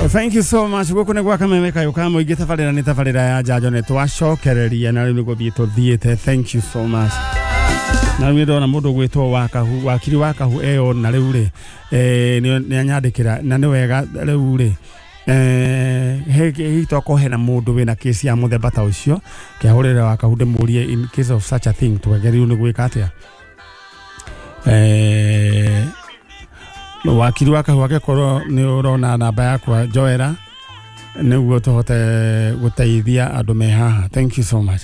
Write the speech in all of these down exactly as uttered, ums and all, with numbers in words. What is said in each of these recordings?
Thank you so much. Guku nĩ gwa Kameme Kayũ ka Mũingĩ, tabarĩra nĩ tabarĩra ya njanjo, nĩ twacokereria na rĩu nĩ gũthiĩ tũthiĩte. Thank you so much. Na rĩu ndona mũndũ gwĩtwo Wakahu, wakiri Wakahu eyo, na rĩu rĩ eh, nĩ anyandĩkĩra na nĩ wega. Rĩu rĩ eh, hihi tokorwo hena mũndũ wĩna kesi ya mũthemba ta ũcio, kĩahũrĩre Wakahu ndĩmũrie in case of such a thing twagĩrĩirwo nĩ gwĩka atĩa. eh, wakiri Wakahu, angĩkorwo nĩ ũrona namba yakwa, njoera nĩguo tũhote gũteithia andũ me haha. Thank you so much.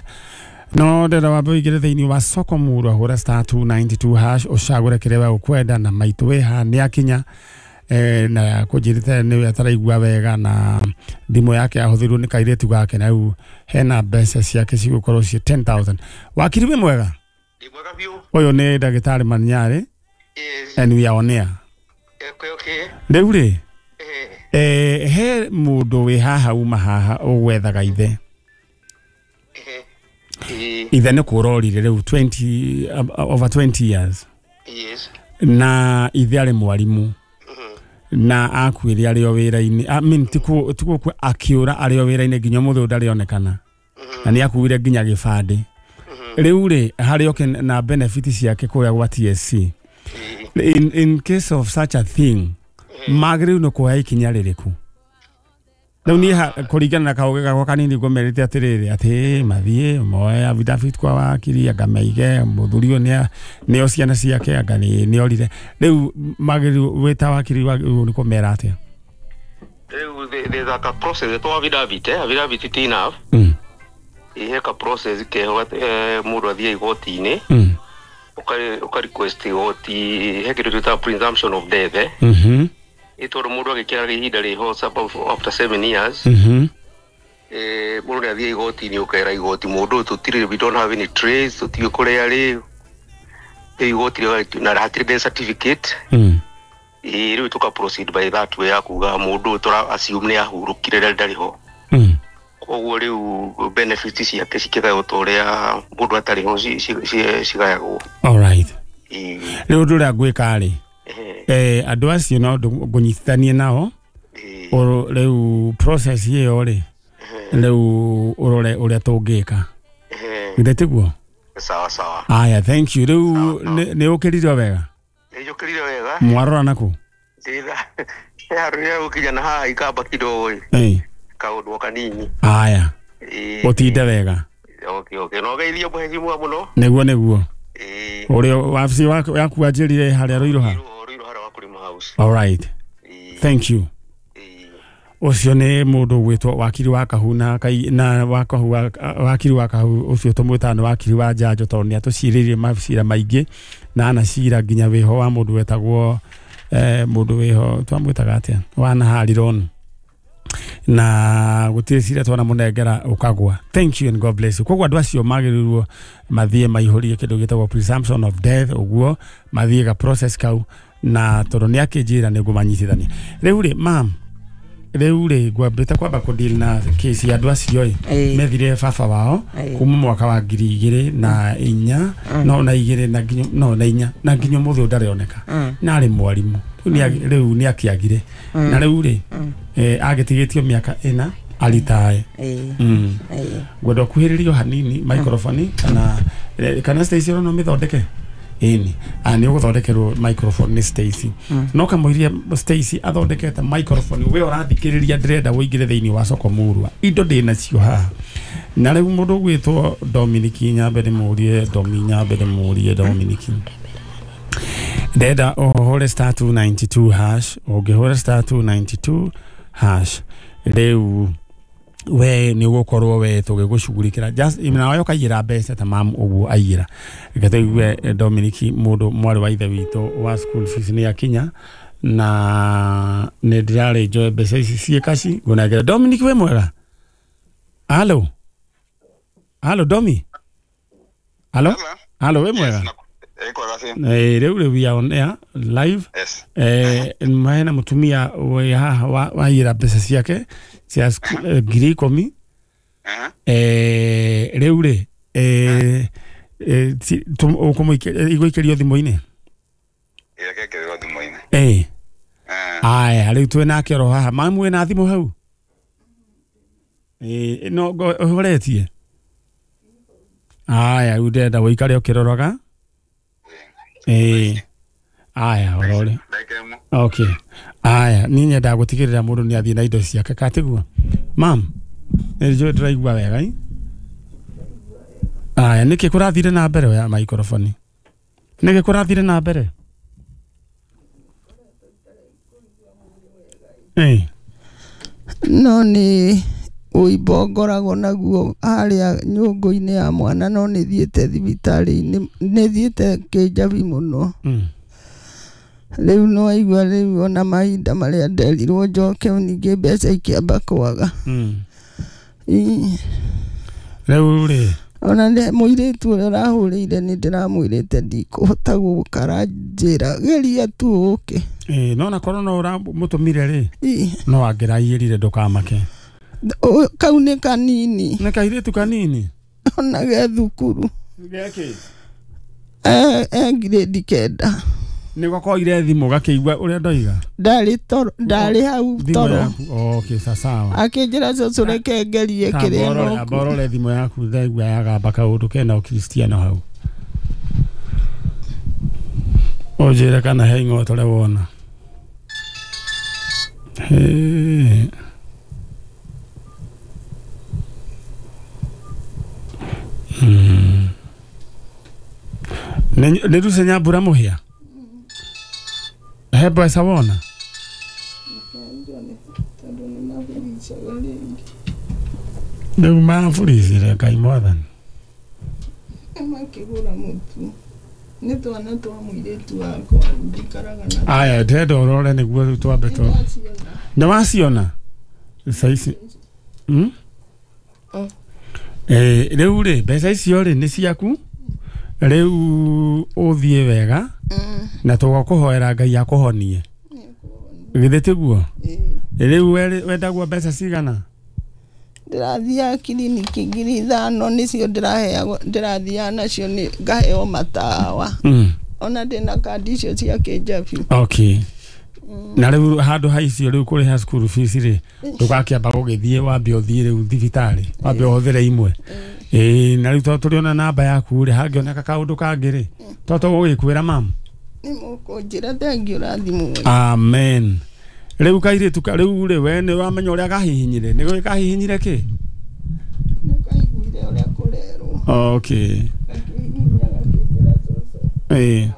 No ndĩrenda wambe ũingĩre thĩinĩ wa soko murwa, hũra star two nine two hash, ũcagũre kĩrĩa we ũkwenda, na maitũ wĩ haha nĩ akinya eh, na kũnjĩrĩte nĩwe ataraigua wega na thimũ yake yahũthĩrwo nĩ kairĩtu gake, na rĩu hena mbeca ciake cigũkorwo ciĩ ten thousand. Wakiri, wĩ mwega? Ndĩ mwega biũ. Ũyũ nĩ ndagĩtarĩ Manyarĩ. Yes. And we are on air. Okay, okay. Rĩu rĩ Eh, eh, he mũndũ wĩ haha, uma haha ũgwethaga ithe. eh, eh, Ithe nĩ kũrorire rĩu twenty, uh, over twenty years. Yes. Na ithe arĩ mwarimũ. Mhm. Na akuire arĩ o wĩra-inĩ, I mean, ti ku- ti gũkua, akĩũra arĩ o wĩra-inĩ, nginya ũmũthĩ ũyũ ndarĩ onekana, na nĩ akuire nginya gĩbandĩ. Rĩu rĩ harĩ oke na benefit ciake kũrĩa gwa T S C. Eh, in, in case of such a thing, magĩrĩirwo nĩ kuoya ikinya rĩrĩkũ? Rĩu niĩ ha- kũringana na kaũgĩ gakwa kanini, ngũmerĩte atĩrĩrĩ, atĩ mathiĩ moe affidavit kwa wakiri, anga maige mũthuri ũyũ nĩa- nĩo ciana ciake, anga nĩ nĩorire. Rĩu magĩrĩirwo, wĩ ta wakiri, wagĩrĩirwo nĩ kũmera atĩa? Rĩu the- there's a ka process to affidavit, eh? Affidavit ti enough. Mm. Ihe ka process keho eh, mũndũ athiĩ igoti-inĩ, Mm. ũka ũka request igoti he kĩndũ twĩtaga presumption of death, eh? Mhm. Ĩ tondũ mũndũ agĩkĩra ihinda rĩho about after seven years, Mhm. eh, mũndũ nĩ athiĩ igoti-inĩ, ũkera igoti mũndũ ũyũ tũtirĩ, we don't have any trace, tũtiũĩ kũrĩa arĩ. Rĩu igoti rĩga- na hatirĩ death certificate. Mm. Ĩ rĩu tũka proceed by that way ya kuga mũndũ ũyũ tũra assume nĩ ahurũkire rĩrĩa ndarĩ ho. Mm. Koguo rĩu benefits ciake cikĩgaywo ta ũrĩa mũndũ atarĩ ho ci- ci- ci- cigayagwo. All right. Ĩ, Rĩu ũndũ ũrĩa ngwĩka rĩ, eh, eh, andũ acio no ndũ- ngũnyitithanie nao. Ĩ, Ũrũ- rĩu process ĩyo rĩ, rĩu ũrore ũrĩa tũngĩka. eh, Githĩ tiguo? Sawa sawa. Aya, thank you. Rĩu Sawa, sawa. nĩ nĩ ũkĩrire wega? Nĩnjũkĩrire wega. Mwarora naku? Ndĩtha he handũ rĩrĩa gũkinya na haha ikamba kidogo ĩ Ĩ. kaũndũ o kanini. Aya. Ĩ, ũtinde wega. okay okay no geithio mũhecimua mũno. Nĩguo nĩguo. Ĩ. Ũrĩa wabici waku yaku wanjĩrire harĩa Rũirũ ha? Rũirũ Rũirũ harĩa wa kũrĩma house. All right. Ĩ, Thank you. Ĩ. Ũcio nĩ mũndũ gwĩtwo wakiri wa Kahu na kai na Wakahu wa- wakiri wa Kahu ũcio tũmwĩtaga nĩ wakiri wa njanjo, tondũ nĩ atũcirĩrie macira maingĩ na anacira nginya wĩho wa mũndũ wetagwo eh, mũndũ wĩho twamwĩtaga atĩa wanaharironi, na gũtirĩ cira twanamũnengera ũkagwa. Thank you and God bless you. Koguo andũ acio magĩrĩirwo mathiĩ maihũrie kĩndũ gĩtagwo presumption of death, ũguo mathiĩ ga process kau, na tondũ nĩ akĩnjĩra nĩ ngũmanyitithania. Rĩu rĩ, mam, rĩu rĩ ngwambĩte kwamba kũdeal na kesi ya andũ acio ĩ Ĩĩ. methire baba wao Ĩĩ. kuma mwaka wa ngiri igĩrĩ na inya no na igĩrĩ na nginya no na inya, na nginya ũmũthĩ ũyũ ndarĩoneka, na arĩ mwarimũ. Rĩu nĩ rĩu nĩ akĩagire, na rĩu rĩ eh, agĩtigĩtio mĩaka ĩna aritae. Ĩĩ. mm. Ĩĩ. Ngwenda ũkuhĩrĩrio hanini microphone, kana eh, kana Stacy no mĩthondeke ĩni a nĩ ũgũthondekerwo microphone nĩ Stacy, no kamũiria Stacy athondekete microphone, we ũrathikĩrĩria, ndĩrenda ũingĩre thĩinĩ wa soko murwa, indo ndĩ nacio haha. Na rĩu mũndũ ũgwĩtwo Dominic Nyambe ndĩmũrie, Domi Nyambe ndĩmũrie, Dominic, ndenda ũhũre star two nine two hash. Ũngĩhũra star two nine two hash rĩu, we nĩ ũgũkorwo we tũgĩgũcugurikĩra, just nawe ũkaiyĩra mbeca ta mamu ũguo aiyĩra. Reke tũigue eh, Dominic, mũndũ mwarĩ wa ithe witũ wa school fees nĩ akinya, na nĩ ndĩrarĩ njoe mbeca ici ciĩ kaci ngũnengere. Dominic, wĩ mwega? Halo, halo, Domi, halo, halo, wĩ mwega? Eh, rĩu rĩu we are on air live. Yes. eh, hena mũtumia wĩ haha wa- waiyĩra mbeca ciake cia sku- eh, ngiri ikũmi. Uh-huh. eh, rĩu rĩ eh, eh, ti- tũ- ũkũmũikĩ- igũikĩrio thimũ-inĩ? Ĩreke thimũ-inĩ. Eh, Aya rĩu twĩ nake oro haha mamu wĩna thimũ hau ĩĩ no ũhoretie aya rĩu ndĩrenda ũikare ũkĩroraga ĩĩ aya ũrore okay aya niĩ nyendaga gũtigĩrĩra mũndũ nĩ athiĩ na indo ciake katiguo mam nĩ njũĩ ndĩraigua wega ĩ aya nĩkĩ kũrathire na mbere ya maikrofoni nĩkĩ kũrathire na mbere ĩĩ no nĩ ũimbo ngoragwo naguo harĩa nyũngũ-inĩ ya mwana no nĩ thiĩte thibitarĩ-inĩ nĩ thiĩte Kĩnjabi mũno rĩu no aigua rĩu ona mahinda marĩa nderirwo njoke ningĩ mbeca ikĩamba kwaga rĩu rĩ ona mũirĩtu ũrĩa ũrahũrĩire nĩ ndĩramwĩrĩte ndikũhota gũka aranjĩra geria tu ũke ĩĩ no na korwo no ũramũtũmire rĩ no angĩraiyĩrire ndũkamake kau nĩ kanini nĩ kairĩtu kanini ona ge thukuru geki e grade kenda nĩgo koire thimũ gakĩigua ũrĩa ndoiga ndarĩ toro ndarĩ hau toro okay sawa akĩnjĩra cũcũ reke ngerie kĩrĩa no amborore thimũ yaku ndaigua yagamba kaũndũ kena ũkristiano hau ũnjĩre kana he ing'otore wona Hey. Mm. Nĩ Lucy Nyambura Mũhĩa he mbeca wona rĩu maburicire Ngai mwathani makĩgũra mũtu nĩ twana twa mũirĩtu wakwa njikaraga na aya ndĩrenda ũrore nĩguo rĩu twambe tũ nĩ waciona ici mm? Eh, rĩu rĩ mbeca icio rĩ nĩ ciaku rĩu ũthiĩ wega na tũgakũhoera Ngai akũhonie githĩ tiguo rĩu wendagwo mbeca cigana ndĩrathiaga kiriniki ngiri ithano nĩcio ndĩraheagwo ndĩrathiaga nacio nĩ ngaheo matawa ona ndĩna kandi icio cia Kĩnjabi okay na rĩu handũ ha icio rĩu kũrĩha school fees rĩ ndũgakĩamba gũgĩthiĩ wambe ũthiĩ rĩu thibitarĩ wambe ũhũthĩre imwe ĩĩ na rĩu tondũ tũrĩ ona namba yaku rĩ hangĩoneka kaũndũ kangĩ rĩ to tũgũgĩkwĩra mamu nĩ mũkũnjĩra thengiũ ũrathimwo amen rĩu kairĩtu rĩu rĩ we nĩ wamenya ũrĩa kahihinyire nĩ kahihinyire kĩ nĩ kaiguire ũrĩa kũrerwo okay gakĩhihinya gakĩnjĩra cũcũ ĩĩ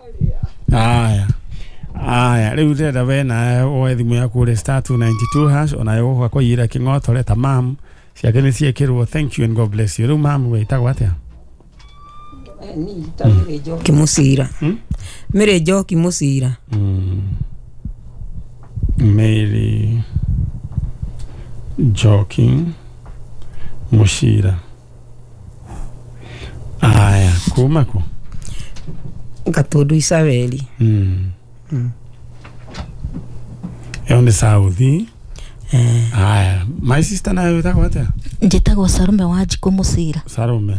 aya aya rĩu ndĩrenda we nawe woe thimũ yaku ũrĩ star two ninety two hash onayo gũka kũiyĩra kĩng'otore ta mamu ciake nĩ ciĩkĩrwo thank you and God bless you rĩu mamu wĩtagwo atĩa Mĩrĩ Njoki Mũcira Mĩrĩ Njoki Mũcira Mary Njoki Mũcira aya kuma kũ Gatundu Isabeli mm. ĩyo nĩ South aya my sister nayo wĩtagwo atĩa njĩtagwo Sarume wa Njikũ Mũcira Sarume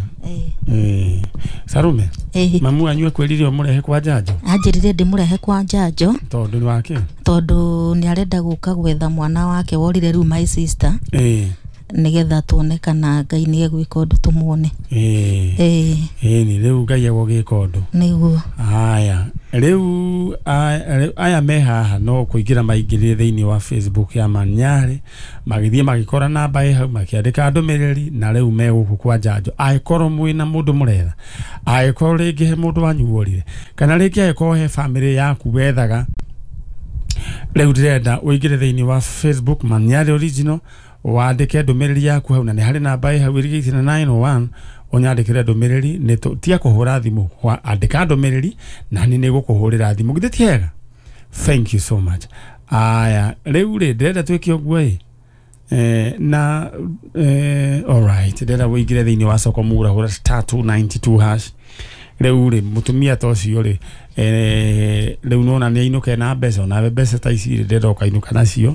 ĩĩ Sarume ĩĩ mamu wanyu akwĩrire ũmũrehe kwa njanjo anjĩrire ndĩmũrehe kwa njanjo tondũ nĩ wake tondũ nĩ arenda gũka gwetha mwana wake worire rĩu my sister ĩĩ nĩgetha tuone kana Ngai nĩ egwĩka ũndũ tũmuone ĩĩ ĩĩ ĩĩ nĩ rĩu Ngai egũgĩka ũndũ nĩguo aya rĩu aya me haha no kũingĩra maingĩrire thĩinĩ wa Facebook ya Manyarĩ magĩthiĩ magĩkora namba ĩ hau makĩandĩka ndũmĩrĩri na rĩu me gũkũ kwa njanjo angĩkorwo mwĩna mũndũ mũretha angĩkorwo rĩngĩ he mũndũ wanyu worire kana rĩngĩ angĩkorwo he bamĩrĩ yaku wethaga rĩu ndĩrenda ũingĩre thĩinĩ wa Facebook Manyarĩ Original wandĩke ndũmĩrĩri yaku hau na nĩ harĩ namba ĩ hau ĩrigĩtie na nine oh one ũnyandĩkĩre ndũmĩrĩri nĩ tia kũhũra thimũ andĩka ndũmĩrĩri na nĩ nĩgũkũhũrĩra thimũ githĩ ti hega thank you so much aya rĩu rĩ ndĩrenda twĩke ũguo ĩ eh, na eh, alright ndĩrenda ũingĩre thĩinĩ wa soko mura hũra star two ninety two hash rĩu rĩ mũtumia ta ũcio rĩ eh, rĩu nona nĩ ainũke na mbeca onawe mbeca ta ici rĩ ndĩrenda ũkainũka nacio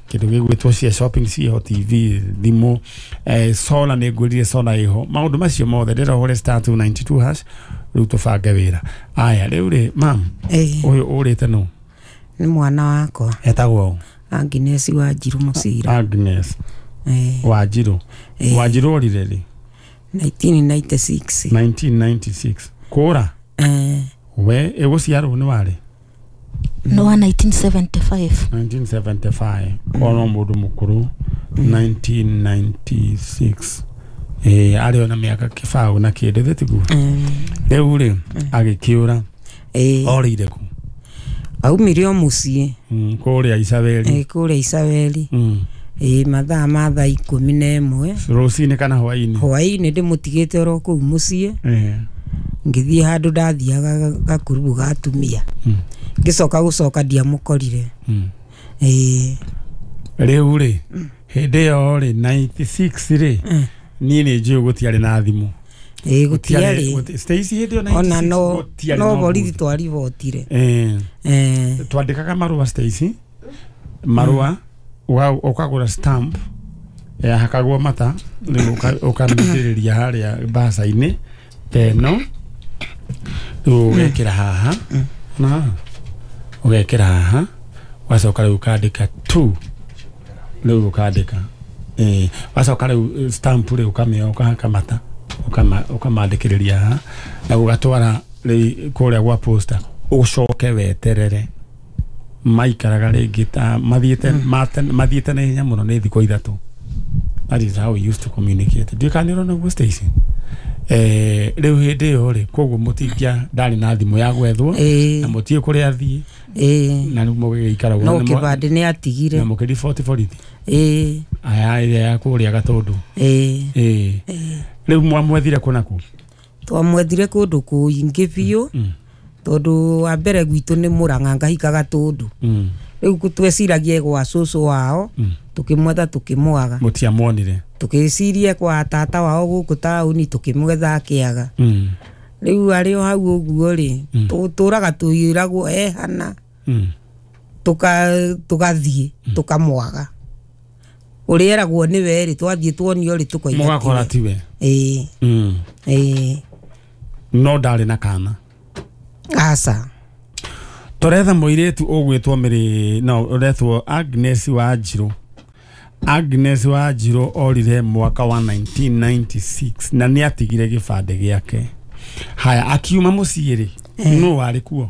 kĩndũ gĩgwĩtwo cia shopping ciĩho T V thimũ eh, solar nĩ ngwĩrire solar ĩho maũndũ macio mothe ndĩrenda ũhũre star two ninety two hash rĩu tũbange wĩra aya rĩu rĩ mam ũyũ ũrĩte nũ Nĩ mwana wakwa. Etagwo Agnes Wanjiru Mũcira. Agnes Eh. Wanjiru. Eh. Wanjiru orire rĩ? nineteen ninety-six. nineteen ninety-six. Kũra? Eh. We ĩgũciarwo nĩ warĩ? No wa nineteen seventy-five. nineteen seventy-five. Kono mũndũ mũkũrũ nineteen ninety-six. Eh arĩ ona mĩaka kĩbaũ na kĩndũ thĩtiguo. Rĩu rĩ agĩkĩũra. Eh. Orĩire kũ? Aumire o mũciĩ. Mm, kũrĩa Isabeli. Eh kũrĩa Isabeli. Mm. Eh mathaa ma thaa ikũmi na ĩmwe. Rũcinĩ kana hwaĩ-inĩ? Hwaĩ-inĩ ndĩmũtigĩte oro kũu mũciĩ. Eh. Ngĩthiĩ handũ ndathiaga gakurubu ga atumia. Mm. Ngĩcoka gũcoka ndiamũkorire. Mm. Eh. Rĩu rĩ hĩndĩ ĩyo rĩ ninety-six rĩ niĩ nĩ njũĩ gũtiarĩ na thimũ. Eh gũtiarĩ. Stacy hĩndĩ ĩyo ninety-six ona no no borithi twari twaribotire. Eh. Eh. Twandĩkaga marũa Stacy. Marũa ũkagũra stamp yahakagwo mata rĩu ũkamĩitĩrĩria harĩa mbaca-inĩ teno rĩu ũgekĩra haha na ũgekĩra haha wacoka rĩu ũkandĩka two rĩu ũkandĩka eh wacoka rĩu stamp rĩu ũkamĩoya ũkahaka mata ũkamandĩkĩrĩria haha na ũgatwara rĩu kũrĩa gwa posta ũcoke weterere maikaraga rĩngĩ ta mathiĩte mathiĩte na ihenya mũno nĩ thikũ ithatũ. That is how we used to communicate. Ndiũĩ kana nĩ ũrona ũguo Stacy? Eh rĩu hĩndĩ ĩyo rĩ koguo mũtingia ndarĩ na thimũ ya gwethwo na mũtiĩ kũrĩa athiĩ na rĩu mũgĩgĩikara ũguo. No kĩbandĩ nĩ atigire. Na mũkĩriboti borithi. Ĩĩ. Aya ĩrĩa ya kũrĩa Gatũndũ. Ĩĩ. Ĩĩ. Rĩu mwamwethire kũ na kũ? Twamwethire kũndũ kũingĩ biũ. Tondũ wa mbere gwitũ nĩ Mũrang'a ngahika Gatũndũ. Rĩu tweciragia gwa cũcũ wao tukimwetha tukimwaga. Mũtiamuonire. Tukiciria kwa tata wao gũkũ taũni tukimwetha akĩaga. Rĩu arĩ o hau ũguo rĩ tũtũraga tũiragwo ehana tuka tugathiĩ tukamwaga. Ũrĩa eragwo nĩwe rĩ twathiĩ tuonio rĩ tũkoiga mũgakora tiwe. Ĩĩ. Ĩĩ. No ndarĩ na kana. Aca. Tũretha mũirĩtu ũgwĩtwo Mary no ũretwo Agnes Wanjiru. Agnes Wanjiru orire mwaka wa nineteen ninety-six na nĩ atigire gĩbandĩ gĩake. Haya akiuma mũciĩ rĩ no warĩ kuo?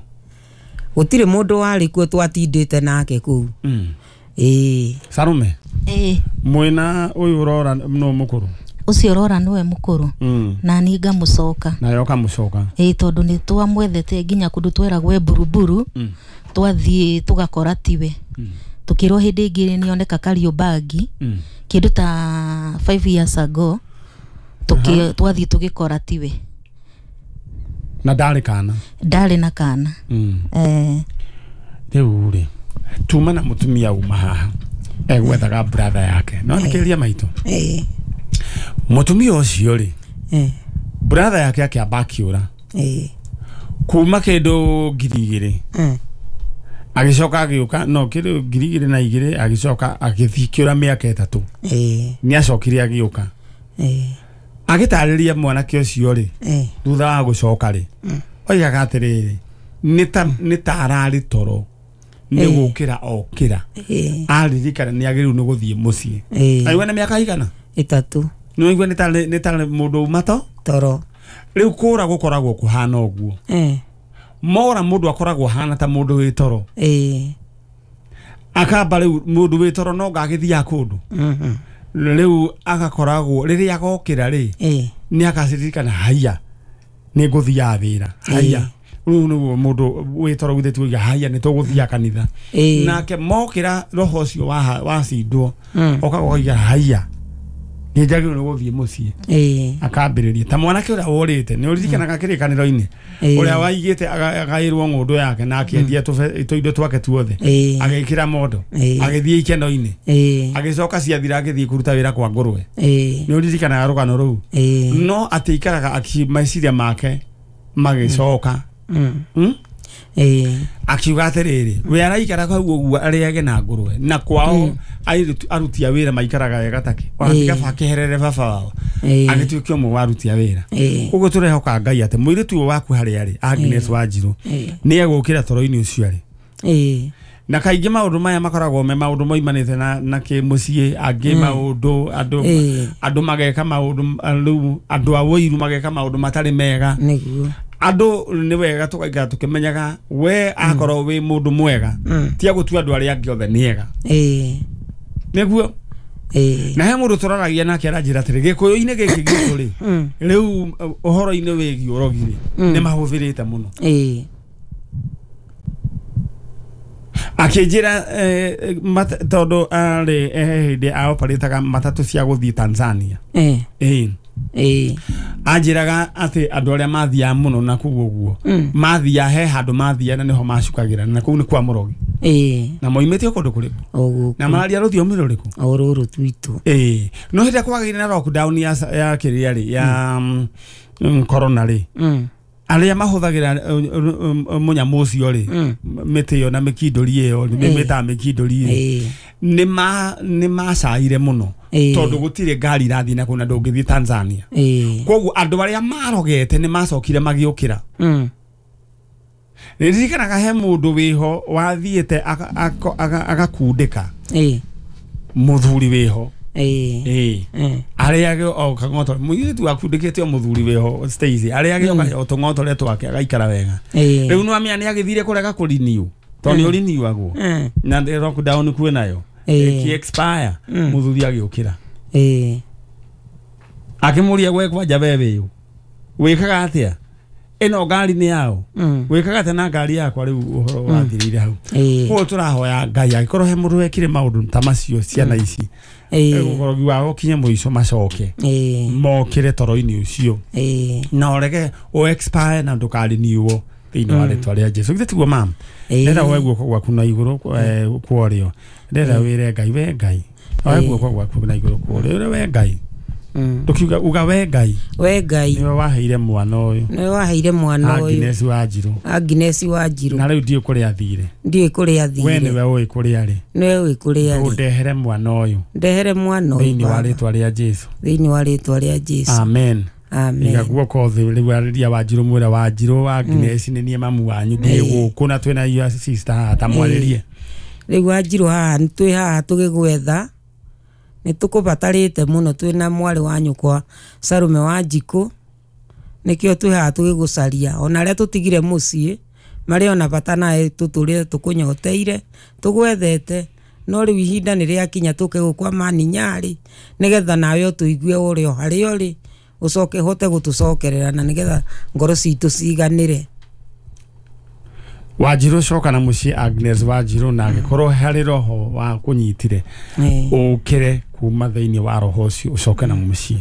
Gũtirĩ mũndũ warĩ kuo twatindĩte nake kũu. Ĩĩ. Sarume. Ĩĩ. Mwĩna ũyũ ũrora no mũkũrũ? Ũcio ũrora nĩwe mũkũrũ. Na niĩ ngamũcoka. Nawe ũkamũcoka. Ĩĩ tondũ nĩ twamwethete nginya kũndũ tweragwo Buruburu twathiĩ tũgakora tiwe. Tukirwo hĩndĩ ĩngĩ nĩoneka Kariobangi kĩndũ ta five years ago tuki twathiĩ tũgĩkora tiwe. Na ndarĩ kana? Ndarĩ na kana. Eh. Rĩu rĩ tuma na mũtumia uma haha egwethaga brother yake no nĩkĩria maitũ. Ĩĩ. Mũtumia ũcio rĩ eh brother yake akĩamba akĩũra. Ĩĩ. Kuma kĩndũ ngiri igĩrĩ eh agĩcoka agĩũka no kĩndũ ngiri igĩrĩ na igĩrĩ agĩcoka agĩthiĩ kĩũra mĩaka ĩtatũ. Ĩĩ. Nĩ acokire agĩũka. Ĩĩ. Agĩtarĩria mwanake ũcio rĩ eh thutha wa gũcoka rĩ oigaga atĩrĩrĩ nĩ ta nĩ ta ararĩ toro nĩ gũkĩra okĩra aririkana nĩ agĩrĩirwo nĩ gũthiĩ mũciĩ. Aigua nĩ mĩaka igana? Ĩtatũ. Nĩ waigua nĩ tarĩ nĩ tarĩ mũndũ uma to toro. Rĩu kũra gũkoragwo kũhana ũguo. Eh. Mora mũndũ akoragwo ahana ta mũndũ wĩ toro. Ĩĩ. Akamba rĩu mũndũ wĩ toro no ngagĩthiaga kũndũ. Mhm. Rĩu agakoragwo rĩrĩa agokĩra rĩ ĩĩ nĩ akacirikana haiya nĩ ngũthiaga wĩra haiya. Rĩu nĩguo mũndũ wĩ toro githĩ tuiga haiya nĩ tũgũthiaga kanitha. Nake mokĩra roho ũcio wacindwo okaga ũkaiga haiya nĩ njagĩrĩirwo nĩ gũthiĩ mũciĩ. Ĩĩ. Akambĩrĩria ta mwanake ũrĩa worĩte nĩ ũririkanaga kĩrĩkanĩro-inĩ ũrĩa waigĩte agaĩrwo ng'ũndũ yake na akĩendia tũindo twake tuothe agĩkĩra mondo agĩthiĩ ikeno-inĩ agĩcoka ciathira agĩthiĩ kũruta wĩra kwa ngũrwe. Nĩ ũririkanaga rũgano rũu? No atĩ ikaraga meciria make magĩcoka. Ĩĩ. Akiuga atĩrĩrĩ we araikara hau ũguo arĩage na ngũrwe na kwao aruti a wĩra maikaraga wega take ona tiga keherere baba wao agĩtuĩka ũmwe wa aruti a wĩra. Ũguo tũrehoka Ngai atĩ mũirĩtu ũyũ waku harĩa arĩ Agnes Wanjiru nĩ egũkĩra toro-inĩ ũcio arĩ. Ĩĩ. Na kaingĩ maũndũ maya makoragwo me maũndũ moimanĩte na na kĩmũciĩ angĩ maũndũ andũ andũ mageka maũndũ rĩu andũ a wũiru mageka maũndũ matarĩ mega. Nĩguo. Andũ nĩ wega tũgaikara tũkĩmenyaga we akorwo wĩ mũndũ mwega ti agũtua andũ arĩa angĩ othe nĩ ega. Ĩĩ. Nĩguo. Ĩĩ. Na he mũndũ tũraragia nake aranjĩra atĩrĩ gĩkũyũ-inĩ gĩkĩ gitũ rĩ rĩu ũhoro-inĩ wĩgiĩ ũrogi rĩ nĩ mahũthĩrĩte mũno. Ĩĩ. Akĩnjĩra tondũ arĩ hĩndĩ aoparĩtaga matatũ cia gũthiĩ Tanzania. Ĩĩ. Ĩĩ. Ĩĩ. Anjĩraga atĩ andũ arĩa mathiaga mũno na kũu ũguo mathiaga he handũ mathiaga na nĩho macukagĩra na kũu nĩ kwa mũrogi. Ĩĩ. Na moimĩte kũndũ kũrĩkũ? O gũkũ. Na mararia rũthiomi rũrĩkũ? O rũrũ twitũ. Ĩĩ. No hĩndĩ ĩrĩa kwagĩire na lockdown ya ya kĩrĩa rĩ ya corona rĩ arĩa mahũthagĩra mũnyamũ ũcio rĩ mĩtĩ ĩyo na mĩkindũri ĩyo mĩtaga mĩkindũri rĩ nĩ ma nĩ macaire mũno tondũ gũtirĩ ngari irathiĩ na kũu na ndũngĩthiĩ Tanzania. Koguo andũ arĩa marogete nĩ macokire magĩũkĩra. Nĩndirikanaga he mũndũ wĩho wathiĩte agakundĩka mũthuri wĩho. Ĩĩ. Arĩage o kang'oto mũirĩtu akundĩkĩte o mũthuri wĩho Stacy arĩage o tũng'otore twake agaikara wega. Rĩu nĩwamenya nĩagĩthire kũrega kũriniu tondũ nĩ ũriniuagwo na lockdown kwĩnayo ĩkĩ expire mũthuri agĩũkĩra. Ĩĩ. Akĩmũria gwe kwanja we wĩũ wĩkaga atĩa ĩno ngari nĩ yao wĩkaga atĩa na ngari yakwa rĩu ũhoro wathirĩire hau. Koguo tũrahoya Ngai angĩkorwo he mũndũ wekire maũndũ ta macio ciana ici ũrogi wao ũkinye mũico macoke mokĩre toro-inĩ ũcio na ũrege ũ expire na ndũkariniuo thĩinĩ wa rĩtwa rĩa Jesu. Githĩ tiguo mam? Ndĩrenda woe guoko gwaku na igũrũ kwa ũrĩo. Ndĩrenda wĩre Ngai we Ngai oe guoko gwaku na igũrũ kwa ũrĩo we Ngai. Ndũkiuga uga we Ngai. We Ngai. Nĩwe waheire mwana ũyũ. Nĩwe waheire mwana ũyũ. Agnes Wanjirũ. Agnes Wanjirũ. Na rĩu ndiũĩ kũrĩa athire. Ndiũĩ kũrĩa athire. We nĩwe ũĩ kũrĩa arĩ. Nĩwe ũĩ kũrĩa arĩ. Ũndehere mwana ũyũ. Ndehere mwana ũyũ. Thĩinĩ wa rĩtwa rĩa Jesu. Thĩinĩ wa rĩtwa rĩa Jesu. Amen. Amen. Iga guoko thĩ rĩu arĩria Wanjirũ mwĩre Wanjirũ Agnes nĩ niĩ mamu wanyu ndĩ gũkũ na twĩna your sister haha ta mwarĩrie. Rĩu Wanjirũ haha twĩ haha tũgĩgwetha nĩ tũkũbatarĩte mũno twĩna mwarĩ wa nyũkwa Sarume wa Njikũ nĩkĩo twĩ haha tũgĩgũcaria ona arĩa tũtigire mũciĩ marĩ ona bata nawe tũtũrĩte tũkũnyoteire tũgwethete no rĩu ihinda nĩ rĩakinya tũke gũkwa Mani Nyarĩ nĩgetha nawe ũtũigue ũrĩ o harĩa ũrĩ ũcoke hote gũtũcokerera na nĩgetha ngoro citũ ciganĩre. Wanjirũ coka na mũciĩ Agnes Wanjirũ na angĩkorwo harĩ roho wa kũnyitire ũkĩre kuma thĩinĩ wa roho ũcio ũcoke na mũciĩ.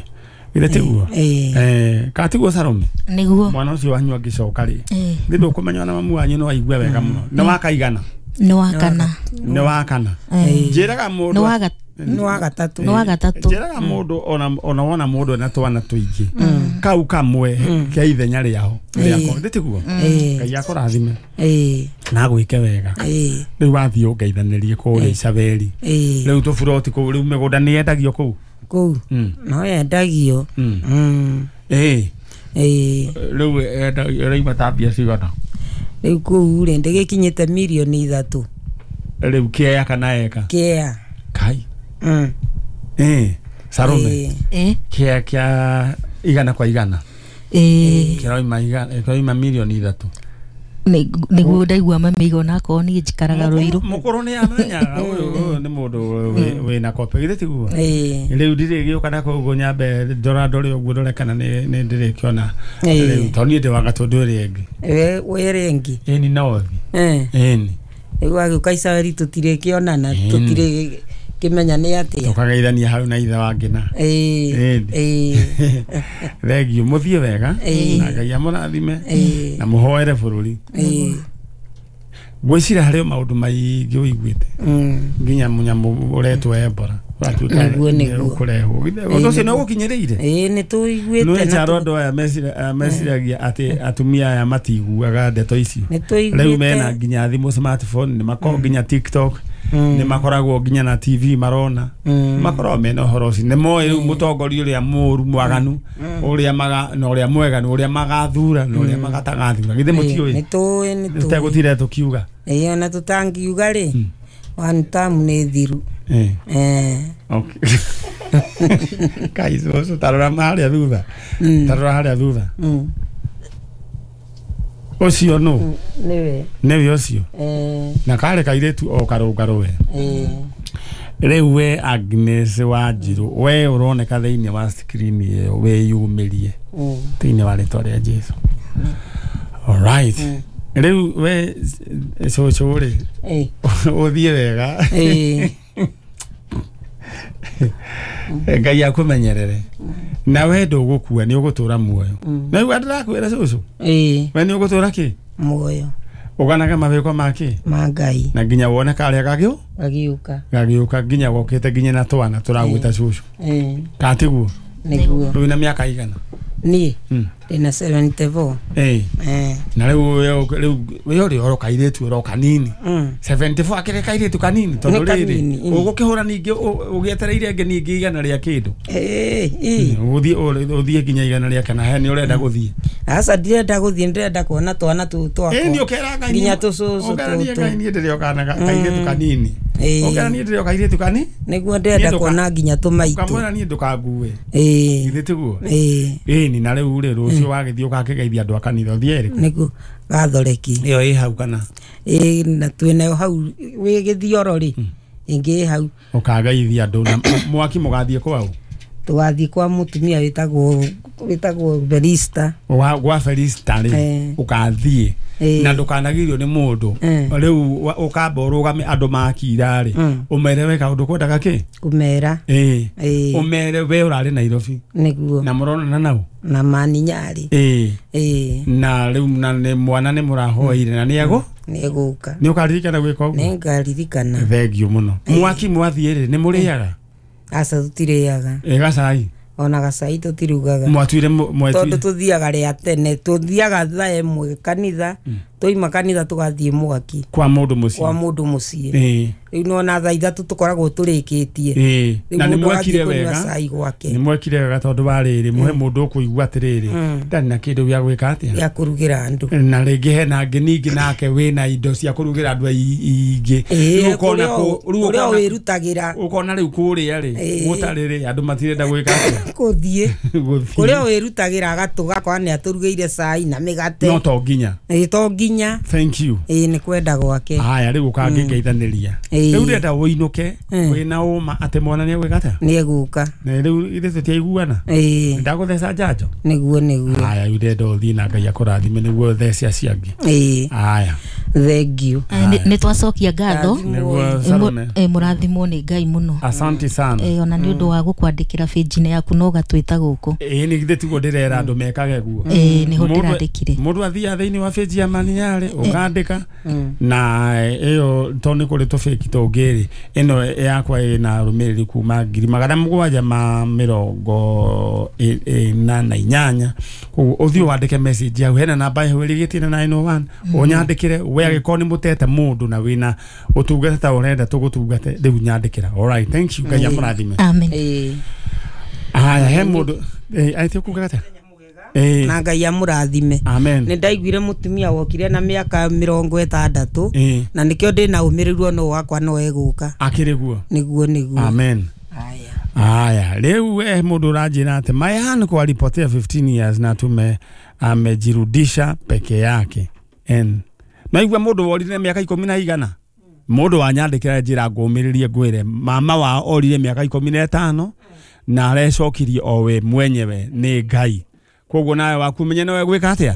Githĩ tiguo? Eh, ka tiguo Salome? Nĩguo. Mwana ũcio wanyu angĩcoka rĩ nĩ ndũkũmenya ona mamu wanyu no aigue wega mũno. Nĩ wa kaigana? Nĩ wa kana. Nĩ wa kana. Njĩraga mũndũ nĩ wa gatatũ. Nĩ wa gatatũ. Njĩraga mũndũ ona ona wona mũndũ ena twana tũingĩ kau kamwe kĩa ithenya rĩao rĩako. Githĩ tiguo? Ngai akũrathime na agwĩke wega. Rĩu wathiĩ ũngeithanĩrie kũrĩa Isabeli. Rĩu tũburoti kũu rĩu mĩgũnda nĩ yendagio kũu? Kũu no yendagio. Ĩĩ. Ĩĩ. Rĩu ĩraima ta mbia cigana? Rĩu kũu rĩ ndĩgĩkinyĩte mirioni ithatũ. Rĩu kĩea kana eka? Kĩea. Kai. Mm. Eh, Salome. Eh. Kĩa kĩa igana kwa igana. Eh. Kĩroima igana, kĩroima mirioni ithatũ. Nĩguo ndaigua mami ona akorwo niĩ njikaraga Rũirũ. Mũkũrũ nĩ amenyaga ũyũ ũyũ nĩ mũndũ wĩna kope githĩ tiguo? Ĩĩ. Rĩu ndirĩgĩũka na kũu nyambe ndora ndore ũguo ndore kana nĩ nĩ ndĩrĩkĩona. Rĩu tondũ niĩ ndĩ wa Gatũndũ ĩrĩa ĩngĩ. We wĩ ĩngĩ. Ĩni north. Eh. Ĩni. Rĩu agĩũka Isabeli tũtirĩkĩonana tũtirĩ kĩmenya nĩ atĩa. Tũkageithania hau na ithe wa Ngĩna. Ĩĩ. Ĩĩ. Thengio mũthiĩ wega na Ngai amũrathime na mũhoere bũrũri. Ĩĩ. Ngwĩciria harĩ o maũndũ maingĩ ũiguĩte nginya mũnyamũ ũretwo Ebola Gwatuĩka Nĩguo, nĩguo. ũkũrehwo. Ũndũ ũcio nĩ ũgũkinyĩrĩire? Ĩĩ, nĩ tũiguĩte Nĩ na njaro tũ- andũ aya mecira- meciragia atĩ atumia aya matiguaga ndeto icio. Nĩ Rĩu mena tũiguĩte. nginya thimũ smartphone, nĩ makoragwo nginya TikTok, nĩ makoragwo nginya na T V marona, makoragwo mena ũhoro ũcio. Nĩ moĩ rĩu mũtongoria ũrĩa mũũru mwaganu, ũrĩa maga na ũrĩa mwega, na ũrĩa magathura na ũrĩa magatagathura. Githĩ mũtiũĩ? Nĩ tũĩ, nĩ tũĩ. Tũtegũtira tũkiuga. Ĩĩ, ona tũtangiuga rĩ, one term nĩ thiru. Eh. Eh. Okay. Guys, ũcio tarora harĩa thutha. Tarora harĩa thutha. Mm. Ũcio nũ? Nĩwe. Nĩwe ũcio. Eh. Na karĩ kairĩtu o karũngarũ we. Eh. Rĩu we Agnes Wanjiru, we ũroneka thĩinĩ wa screen ĩyo wĩyumĩrie Mm. thĩinĩ wa rĩtwa rĩa Jesu. All right. Rĩu we cũcũ rĩ, Eh. ũthiĩ wega. Eh. Ngai akũmenyerere. Na we ndũgũkua, nĩ ũgũtũra muoyo. Na rĩu ndĩrakwĩra cũcũ, Eh. we nĩ ũgũtũra kĩ? Muoyo. Ũganaga mawĩko ma kĩ? Ma Ngai. Na nginya wone karĩa gagĩũ? Gagĩũka. Gagĩũka nginya gokĩte nginya na twana tũragwĩta cũcũ. Eh. Katiguo? Nĩguo. Rĩu na mĩaka igana? Niĩ Mm. ndĩna seventy-four. Eh. Eh. Na rĩu we rĩu we ũrĩ oro kairĩtu oro kanini. Mm. seventy-four akĩrĩ kairĩtu kanini tondũ Nĩ rĩrĩ kanini, mm. ũgũkĩhũra ningĩ ũgĩetereire ĩngĩ ningĩ igana rĩa kĩndũ. Eh, eh. Ũgũthiĩ ũthiĩ nginya igana rĩa kana he nĩ ũrenda gũthiĩ. Aca ndirenda gũthiĩ, ndĩrenda kuona twana tũu twakwa. Ĩĩ, nĩ ũkera Ngai Nginya niĩ- tũcũcũ ũkera niĩ tũtũ. Ngai niĩ ndĩrĩ o kana kairĩtu kanini. Ĩĩ. Ũkera niĩ ndĩrĩ o kairĩtu kani? Nĩguo ndĩrenda Niĩ ndũka- kuona nginya tũmaitũ. Ũkamwĩra niĩ ndũkangue. Ĩĩ. Githĩ tiguo? Ĩĩ. Ĩĩ, na rĩu rĩ rũciũ wagĩthiĩ ũgakĩgeithia andũ a kanitha ũthiĩ ĩrĩkũ? Nĩguo gathoreki. Ĩyo ĩ hau kana? Ĩĩ, na twĩnayo hau wĩ gĩthioro rĩ, ĩngĩ ĩ hau. Ũkageithia andũ na mwaki mũgathiĩ kwaũ? Tũgathiĩ kwa mũtumia wĩtagwo wĩtagwo Felista. Wa gwa Felista rĩ, Eh. ũkathiĩ Eh. na ndũkanagirio nĩ mũndũ. Eh. Rĩu ũkamba ũrũgame andũ makira rĩ, Mm. ũmere we kaũndũ kwendaga kĩ? Kũmera. Ĩĩ. Ĩĩ. Ũmere we ũrarĩ Nairobi. Nĩguo. Na mũronana nau? Na maninyarĩ. Ĩĩ. Ĩĩ. Na rĩu na nĩ mwana nĩ mũrahoire na nĩ egũ? Nĩ egũka. Nĩ ũkaririkana gwĩka ũguo? Nĩ ngaririkana. Thengiũ mũno. Mwaki mwathiĩ rĩ, nĩ mũrĩaga? Aca tũtirĩaga. Ĩ gacai? Ona gacai tũtirugaga. Mwatuire mwatuire. Tondũ tũthiaga rĩa tene, tũthiaga thaa ĩmwe kanitha, twaima kanitha tũgathiĩ mwaki. Kwa mũndũ mũciĩ. Kwa mũndũ mũciĩ. Ĩĩ. Rĩu nĩwona thaa ithatũ tũkoragwo tũrĩkĩtie. Ĩĩ. Rĩu Na nĩ mũndũ mwekire agathiĩ kũnyua wega. cai gwake. Nĩ mwekire wega tondũ wa rĩrĩ, mũhe mũndũ ũkũigua atĩrĩrĩ, ndarĩ na kĩndũ gĩa gwĩka atĩa? Gĩa kũrugĩra andũ. Na rĩngĩ hena angĩ ningĩ nake wĩna indo cia kũrugĩra andũ aingĩ. Ĩĩ, Rĩu ũkona kũrĩa kũ- rĩu kũrĩa ũkona- wĩrutagĩra. ũkona rĩu kũrĩa rĩ, Ĩĩ. gũtarĩ rĩ, andũ matirenda gwĩka atĩa? Gũthiĩ. Gũthiĩ. Kũrĩa wĩrutagĩra agatũga akona nĩ atũrugĩire cai na mĩgate. No to nginya. Ĩĩ, to nginya. Thank you. Ĩĩ, nĩ kwenda gwake. Haya rĩu ũkangĩgeithanĩria. Ĩĩ. Rĩu ndĩrenda ũinũke wĩna ũma atĩ mwana nĩ egwĩka atĩa? Nĩ egũka. Na rĩu ithuĩ tũtiaiguana. Ĩĩ. Ndagũtheca njanjo? Nĩguo, nĩguo. Haya rĩu ndĩrenda ũthiĩ na Ngai akũrathime nĩguo ũthece acio angĩ. Ĩĩ. Haya. Thank you. Nĩ twacokia ngatho. Nĩguo Salome. Eh, mũrathimwo nĩ Ngai mũno. Asante sana. Eh, ona nĩ ũndũ wa gũkwandĩkĩra page-inĩ yaku no ũgatwĩta gũkũ. Ĩĩ, nĩ githĩ tiguo ndĩrera andũ mekage guo. Ĩĩ, nĩho Mũndũ- ndĩrandĩkire. Mũndũ athiaga thĩinĩ wa page ya Maninyarĩ ũkandĩka na ĩyo tondũ nĩ kũrĩ tũbĩki tũngĩ rĩ, ĩno yakwa ĩna arũmĩrĩri kuma ngiri magana mũgwanja ma mĩrongo ĩna na inyanya. Koguo ũthiĩ wandĩke message hau, hena namba ĩho ĩrigĩtie na nine oh one, ũnyandĩkĩre we angĩkorwo nĩ mũtete mũndũ na wĩna ũtungata ta ũrenda tũgũtungate rĩu nyandĩkĩra. All right, thank you. Ngai amũrathime. Amen. Ĩĩ. Haya, he mũndũ eh aite kuga atĩa? Ĩĩ. Na Ngai amũrathime. Amen. Nĩ ndaiguire mũtumia wokire na mĩaka mĩrongo ĩtandatũ Ĩĩ. na nĩkĩo ndĩna ũmĩrĩru ona wakwa no egũka. Akĩrĩ guo. Nĩguo, nĩguo. Amen. Haya. Haya, rĩu eh mũndũ ũranjĩra atĩ Mayan kwa alipotea fifteen years na tume amejirudisha peke yake. En naigua mũndũ worire mĩaka ikũmi na igana. Mũndũ wanyandĩkĩra njĩra ngũmĩrĩrie ngwĩre mama wao orire mĩaka ikũmi na ĩtano na arecokirie o we mwenyewe nĩ Ngai. Koguo nawe waku menye nowe gwĩka atĩa?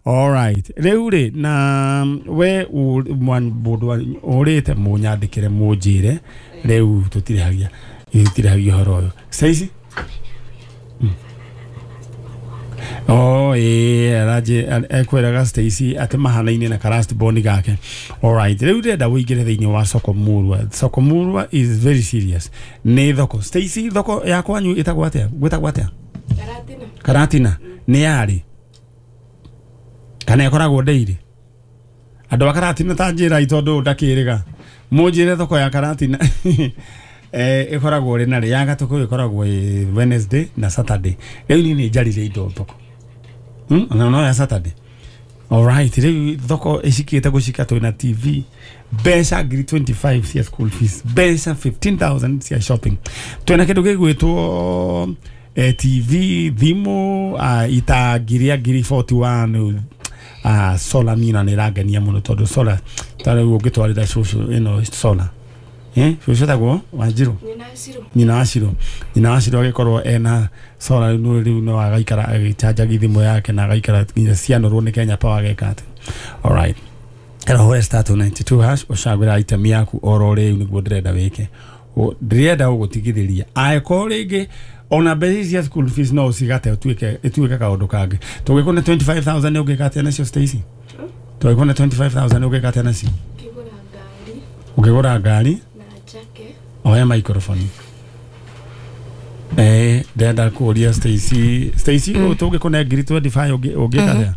All right. Rĩu rĩ na we mũndũ ũrĩte mũnyandĩkĩre mũnjĩre rĩu tũtirĩhagia tũtirĩhagia ũhoro ũyũ. Saici? Oh eh araje ekweraga Stacy ati mahanaine na karasti boni gake. All right, riu ndenda uingire thiini wa soko murwa. Soko murwa is very serious. Ni thoko Stacy, thoko ya kwanyu itagwo atia? Gwitagwo atia? Karatina. Karatina ni yari kana ikoragwo ndeire andu a Karatina ta njira itondu ndakiriga munjire thoko ya Karatina eh ikoragwo ri na ri ya gatuku ikoragwo Wednesday na Saturday. Riu ni njarire indo thoko hmm na no ya Saturday. All right, riu thoko icikite gucika twina T V mbeca ngiri twenty-five cia school fees, mbeca fifteen thousand cia shopping, twina kindu gigwitwo eh, T V thimu uh, ita ngiri ngiri forty-one uh, solar mina nä rangenia må no tondå solar tarä u å ngä twarä ra cåcå ä no solar eh cåcå tagwo Wanjirå nyina wa Cirå nyina wa Cirå agä korwo ena solar rä u no agaikara agä thimå yake na agaikara nginya cianorwo nä Kenya Power ageka atä. All right, ero star two ninety-two hash ũcagũra item yaku oro rĩu nĩguo ndĩrenda wĩke. Ndĩrenda ũgũtigithĩria angĩkorwo rĩngĩ ona mbeca cia school fees no ũcigate ũtuĩke ĩtuĩke kaũndũ kangĩ. Tũngĩkũne twenty-five thousand ũngĩka atĩa nacio Stacy? Tũngĩkũne twenty-five thousand ũngĩka atĩa nacio? Ũngĩgũra ngari na njake. Oya microphone. Eh, ndĩrenda kũũria Stacy, Stacy tũngĩkũne ngiri twenty-five ũngĩka atĩa?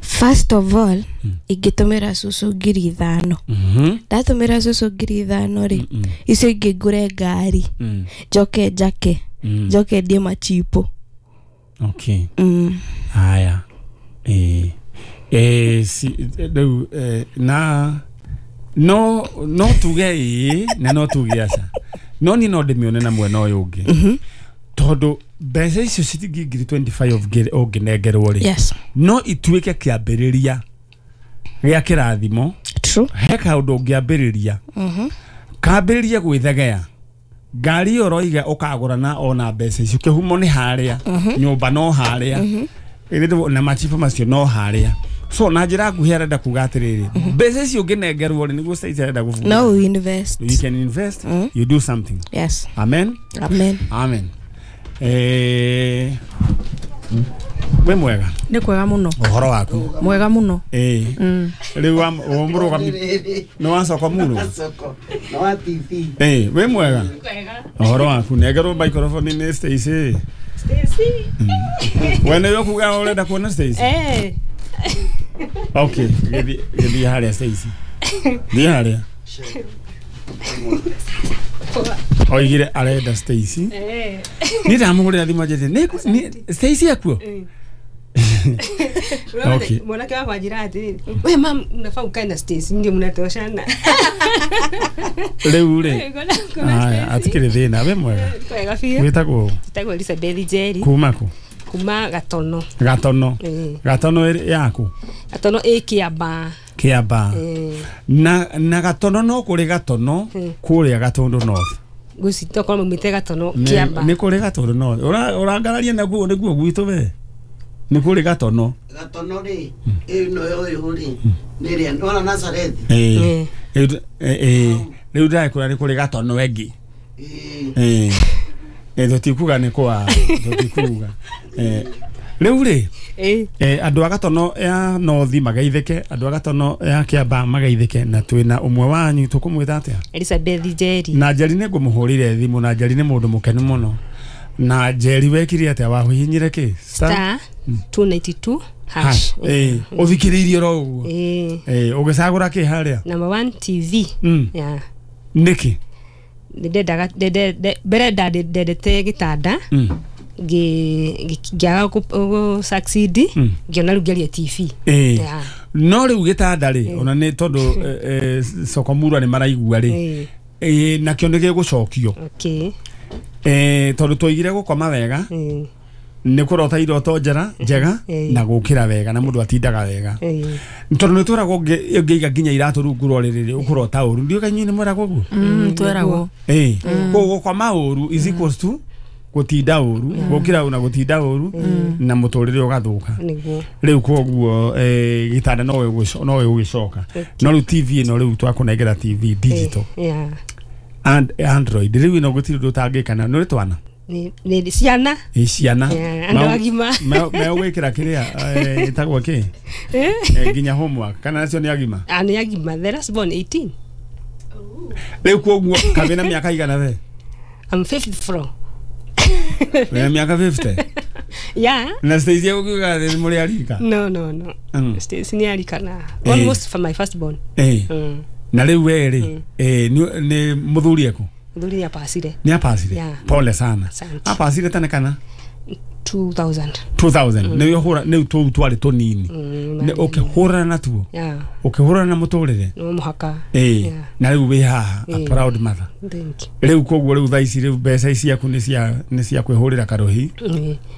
First of all, ingĩtũmĩra cũcũ ngiri ithano. Ndatũmĩra cũcũ ngiri ithano rĩ, icio ingĩ ngũre ngari, njoke njake, njoke ndie machipo. Okay. Haya. Eh eh si rĩu na no no tuge ĩ na no tuge aca. No ni no ndĩmĩone na mwena ũyũ ũngĩ. Tondũ mbeca icio ciringi ngiri twenty-five ũngĩnengerwo rĩ, yes, no ituĩke kĩambĩrĩria gĩa kĩrathimo. True. He kaũndũ ũngĩambĩrĩria kambĩrĩria gwĩthegea ngari ĩyo ũroiga ũkagũra na ona mbeca icio kĩhumo nĩ harĩa, nyũmba no harĩa, na machibu macio no harĩa. So na njĩra nguhĩ arenda kuga atĩrĩrĩ, mbeca icio ũngĩnengerwo rĩ nĩguo Stacy arenda gũbunga. No, you invest. You can invest, you do something. Yes. Amen. Amen. Amen. Eh we mwega nä kwega må no ũhoro waku mwega må no eh rĩu wa mũrũgami nĩ wa soko mũno na wa T V eh we mwega ũhoro waku nengerwo microphone nĩ Stacy. Stacy we nĩ ũkuga ũrenda kuona Stacy? Eh okay, gĩthiĩ gĩthiĩ harĩa Stacy, thiĩ harĩa oigire arenda Stacy. Eh ni ndamũhũrĩra thimũ anjĩrĩte nĩ Stacy akuo. Okay. Mwanake wakwa anjĩra atĩrĩrĩ, we mam unafaa ukae na Stacy ndio mnatoshana. Rĩu rĩ aya atikĩrĩ thĩna. We mwega kwega biũ. Wĩtagwo? Njĩtagwo Elizabeth Njeri. Kuma kũ? Kuma Gatono. Gatono. Gatono yaku? Gatono ĩ Kĩambaa. Kĩambaa. Na na Gatono no kũrĩ Gatono kũrĩa Gatũndũ North. Ngwĩciria tokorwo maumĩte Gatono Kĩambaa. Nĩ kũrĩ Gatũndũ North. Ũrangararia naguo nĩguo gwitũ we. Nĩ kũrĩ Gatono. Gatono rĩ ĩno ũyũ rĩ nĩ ĩrĩa nĩwona Nazareth. Ĩĩ rĩu ndĩrakwĩra nĩ kũrĩ Gatono ĩngĩ. Ĩĩ tũtikuga nĩ kwa tũtikuga. Rĩu rĩ andũ a Gatono ya North mageithĩke, andũ a Gatono ya Kĩambaa mageithĩke, na twĩna ũmwe wanyu tũkũmwĩta atĩa? Elizabeth Njeri. Na Njeri nĩ ngũmũhũrĩre thimũ, na Njeri nĩ mũndũ mũkenu mũno. Na Njeri wekire atĩa wahihinyire kĩ? Star two ninety-two hash. Eh ũthikĩrĩirie oro ũguo. Eh ũgĩcagũra kĩ harĩa? Number one T V. Yeah. Nĩkĩ? Ndendaga mbere ndendete gĩtanda ngĩaga gũ succeed ngĩona rĩu ngĩaria T V. Eh no rĩu gĩtanda rĩ ona nĩ tondũ soko murwa nĩ maraigua rĩ eh nakĩo nĩ gĩgũcokio. Okay. Eh tondũ twoigire gũkoma wega nĩ kũrota iroto njega njega na gũkĩra wega na mũndũ atindaga wega. Tondũ nĩ twĩragwo ũngĩiga nginya iratũ rungu rwa rĩrĩ ũkũrota ũru. Ndiũĩ kana inyuĩ nĩ mweragwo ũguo? Tweragwo. Eh koguo gũkoma ũru is equals to gũtinda ũru, gũkĩra ũru na gũtinda ũru na mũtũrĩre ũgathũka. Rĩu koguo eh gĩtanda no no ũgĩcoka. No rĩu T V ĩno rĩu twakũnengera T V digital. Yeah. And Android rĩu ĩno gũtirĩ ũndũ ũtangĩka na nĩ ũrĩ twana? Ni ni ciana. Ĩ ciana. Andũ agima. Megwĩkĩra kĩrĩa ĩtagwo kĩ? Nginya homework kana acio nĩ agima? Ah, nĩ agima. The last born eighteen. Rĩu koguo kabĩ na mĩaka igana we? I'm fifty-four. Wĩna mĩaka fifty? Yeah. Na Stacy ũkiuga nĩ mũrĩ arika? No, no, no. Mm. Stacy nĩ arika na almost for my first born. Eh. Mm. Na rĩu we rĩ, eh nĩ mũthuri eku? Mũthuri nĩ apacire. Nĩ apacire? Yeah. Pole sana. Apacire tene kana? two thousand. two thousand. Nĩ ũhũra nĩ tũu twarĩ tũnini. Nĩ ũkĩhũrana natuo. Yeah. Ũkĩhũrana na mũtũrĩre. No mũhaka. Eh. Na rĩu wĩ haha a proud mother. Thank you. Rĩu koguo rĩu thaa ici rĩu mbeca ici ciaku nĩ cia nĩ cia kwĩhũrĩra karũhi.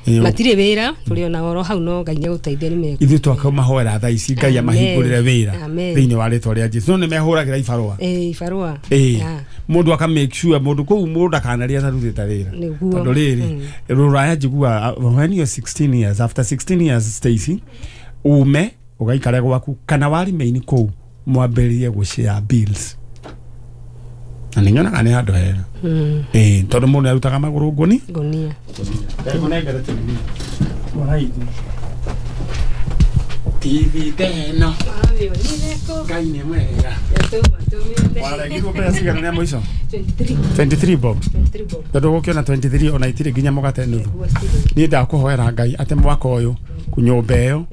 Matirĩ wĩra tũrĩ ona oro hau no Ngai nĩegũteithia nĩ mekũ. Ithuĩ twakamahoera thaa ici Ngai amahingũrĩre wĩra thĩinĩ wa rĩtwa rĩa Jesũ. No nĩ mehũragĩra ibarũa. Eh, ibarũa. Eh. Mũndũ aka make sure mũndũ kũu mũndũ ndakanaria atarutĩte wĩra. Tondũ rĩrĩ rũraya njiguaga when you're sixteen years, after sixteen years Stacy, ume ugaikare gwaku kana warimeini kũu mwambĩrĩrie gũshare bills. Na nĩ nyonaga nĩ handũ hega. Eh, tondũ mũndũ nĩarutaga magũrũ ngũni. Ngũnia. Ndĩkũnengere T V. Alright. T V teno. Ngai nĩ mwega. Waregirwo mbeca cigana nĩ mũico? twenty-three. twenty-three bob. twenty-three bob. Tondũ gũkĩona twenty-three ona itirĩ nginya mũgate nuthu. Niĩ ndakũhoera Ngai atĩ mwaka ũyũ nyũmba ĩyo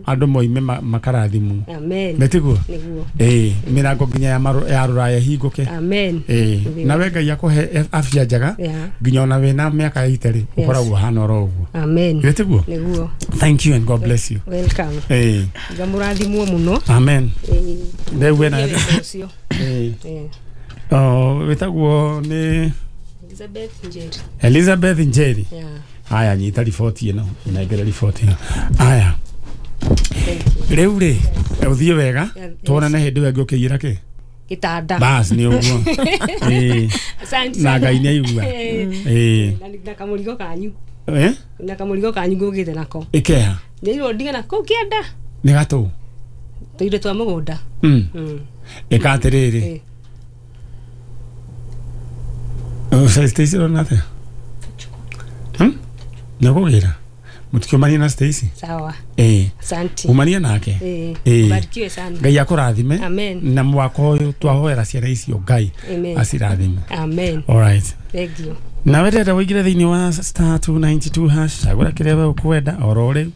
andũ moime makarathimwo. Amen. Nĩtiguo? Nĩguo. Ĩĩ, mĩrango nginya ya rũraya ĩhingũke. Amen. Ĩĩ, nawe Ngai akũhe afya njega nginya ona wĩna mĩaka eighty rĩ ũkoragwo ũhana oro ũguo. Amen. Nĩtiguo? Nĩguo. Thank you and God bless you. Welcome. Ĩĩ. Ngamũrathimwo mũno. Amen. Ĩĩ. Rĩu wĩna Ĩĩ. Oh, wĩtagwo nĩ Elizabeth Njeri. Elizabeth Njeri. Yeah. Aya nyita riboti ĩno, inengere riboti ĩno. Aya. Rĩu rĩ, ũthiĩ wega, tuonane hĩndĩ ĩyo ĩngĩ ũkĩiyĩra kĩ? Gĩtanda. Bas nĩ ũguo. Ĩĩ. Na Ngai nĩ aigua. Ĩĩ. Na kamũrigo kanyu. Eh? Na kamũrigo kanyu ngũgĩte nako. Ĩkeha. Nĩirwo ndige nako kĩanda. Nĩ gatũ. Tũindo twa mũgũnda. Mm. Ĩka atĩrĩrĩ. Oh, Stacy ũrona atĩa? Hmm? Nĩũkũgĩra? Mũtikiumanie na Stacy? Sawa. Ĩĩ. Asante. Umanie nake. Ĩĩ. Ĩĩ. Barikiwe sana. Ngai akũrathime. Amen. Na mwaka ũyũ twahoera ciana icio Ngai acirathime. Amen. All right. Thank you. Nawe ndĩrenda wĩingĩre thĩinĩ wa star two ninety-two hash cagũra kĩrĩa we ũkwenda oro rĩu.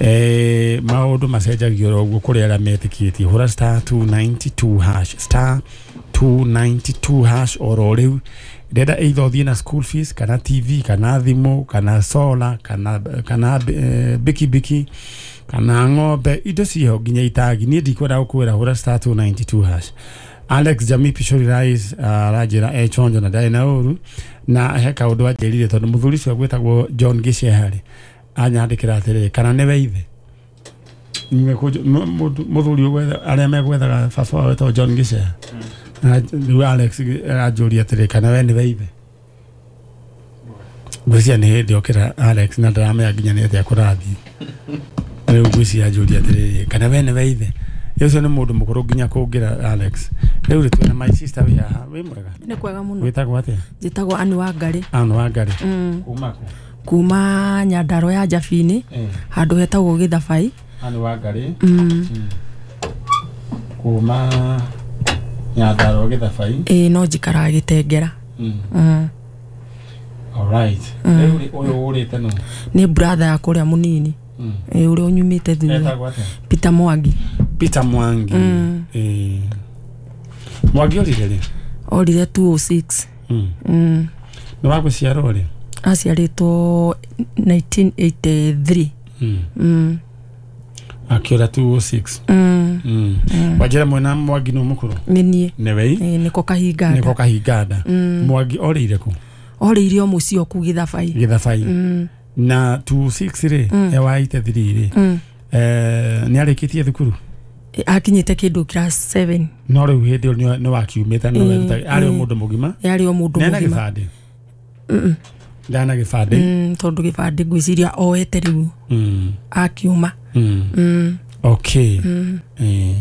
Eh, maũndũ macenjagio oro ũguo kũrĩ arĩa metĩkĩtie. Hũra star two ninety-two hash star two ninety-two hash oro rĩu. Ndĩrenda either ũthiĩ na school fees kana T V kana thimũ kana solar kana kana eh, bikibiki kana ng'ombe indo ciho nginya itagi. Niĩ ndikwenda gũkwĩra hũra star two ninety-two hash. Alex Jamii Pishori Rais aranjĩra e chonjo na ndarĩ na ũru na he kaũndũ anjĩrire tondũ mũthuri ũcio gwĩtagwo John Gĩceha-rĩ anyandĩkĩra atĩrĩrĩ kana nĩwe ithe mũthuri arĩa megwethaga baba wao wetagwo John Gĩceha. Rĩu Alex anjũria atĩrĩ kana we nĩwe ithe. Ngwĩciria nĩ hĩndĩ okĩra Alex na ndaramenya nginya nĩ atĩa kũrathiĩ. Rĩu ngwĩciria anjũria atĩrĩrĩ kana we nĩwe ithe. Ũcio nĩ mũndũ mũkũrũ nginya kũngĩra Alex. Rĩu rĩ twĩna my sister wĩ haha. Wĩ mwega? Nĩ kwega mũno. Wĩtagwo atĩa? Njĩtagwo Ann Wangari. Ann Wangari. Kuma kũ? Kuma Nyandarua ya Njabini handũ hetagwo Gĩthabai. Ann Wangari. Kuma Nyandarua Gĩthabai. Ĩĩ no njikaraga Gĩtengera. All right. Rĩu rĩ ũyũ ũrĩte nũ? Nĩ brother yakwa ũrĩa mũnini. Ĩĩ ũrĩa ũnyumĩte thutha. Etagwo atĩa? Peter Mwangi. Peter Mwangi. Eh. Mwangi orire rĩ? Orire two oh six. Mm. Nĩ wa gũciarwo rĩ? Aciarĩtwo nineteen eighty-three. Mm. Mm. Akĩũra two oh six. Mm. Mm. Wanjĩra mwena Mwangi nĩ mũkũrũ? Nĩ niĩ. Nĩwe? Ĩĩ nĩko Kahinganda. Nĩko Kahinganda. Mwangi orĩire kũ? Orĩire o mũciĩ o kũu Gĩthabai. Gĩthabai. Mm. Na two oh six rĩ e wa eighty-three rĩ eh nĩ arĩkĩtie thukuru? Akinyĩte kĩndũ class seven. No rĩu hĩndĩ ĩyo nĩ wakiumĩte no werutaga arĩ o mũndũ mũgima? Yarĩ o mũndũ mũgima. Nĩ gĩbandĩ? Ndana gĩbandĩ? Mm, tondũ gĩbandĩ ngwĩciria oete rĩu. Mm. Akiuma. Mm. Mm. Okay. Mm. Eh.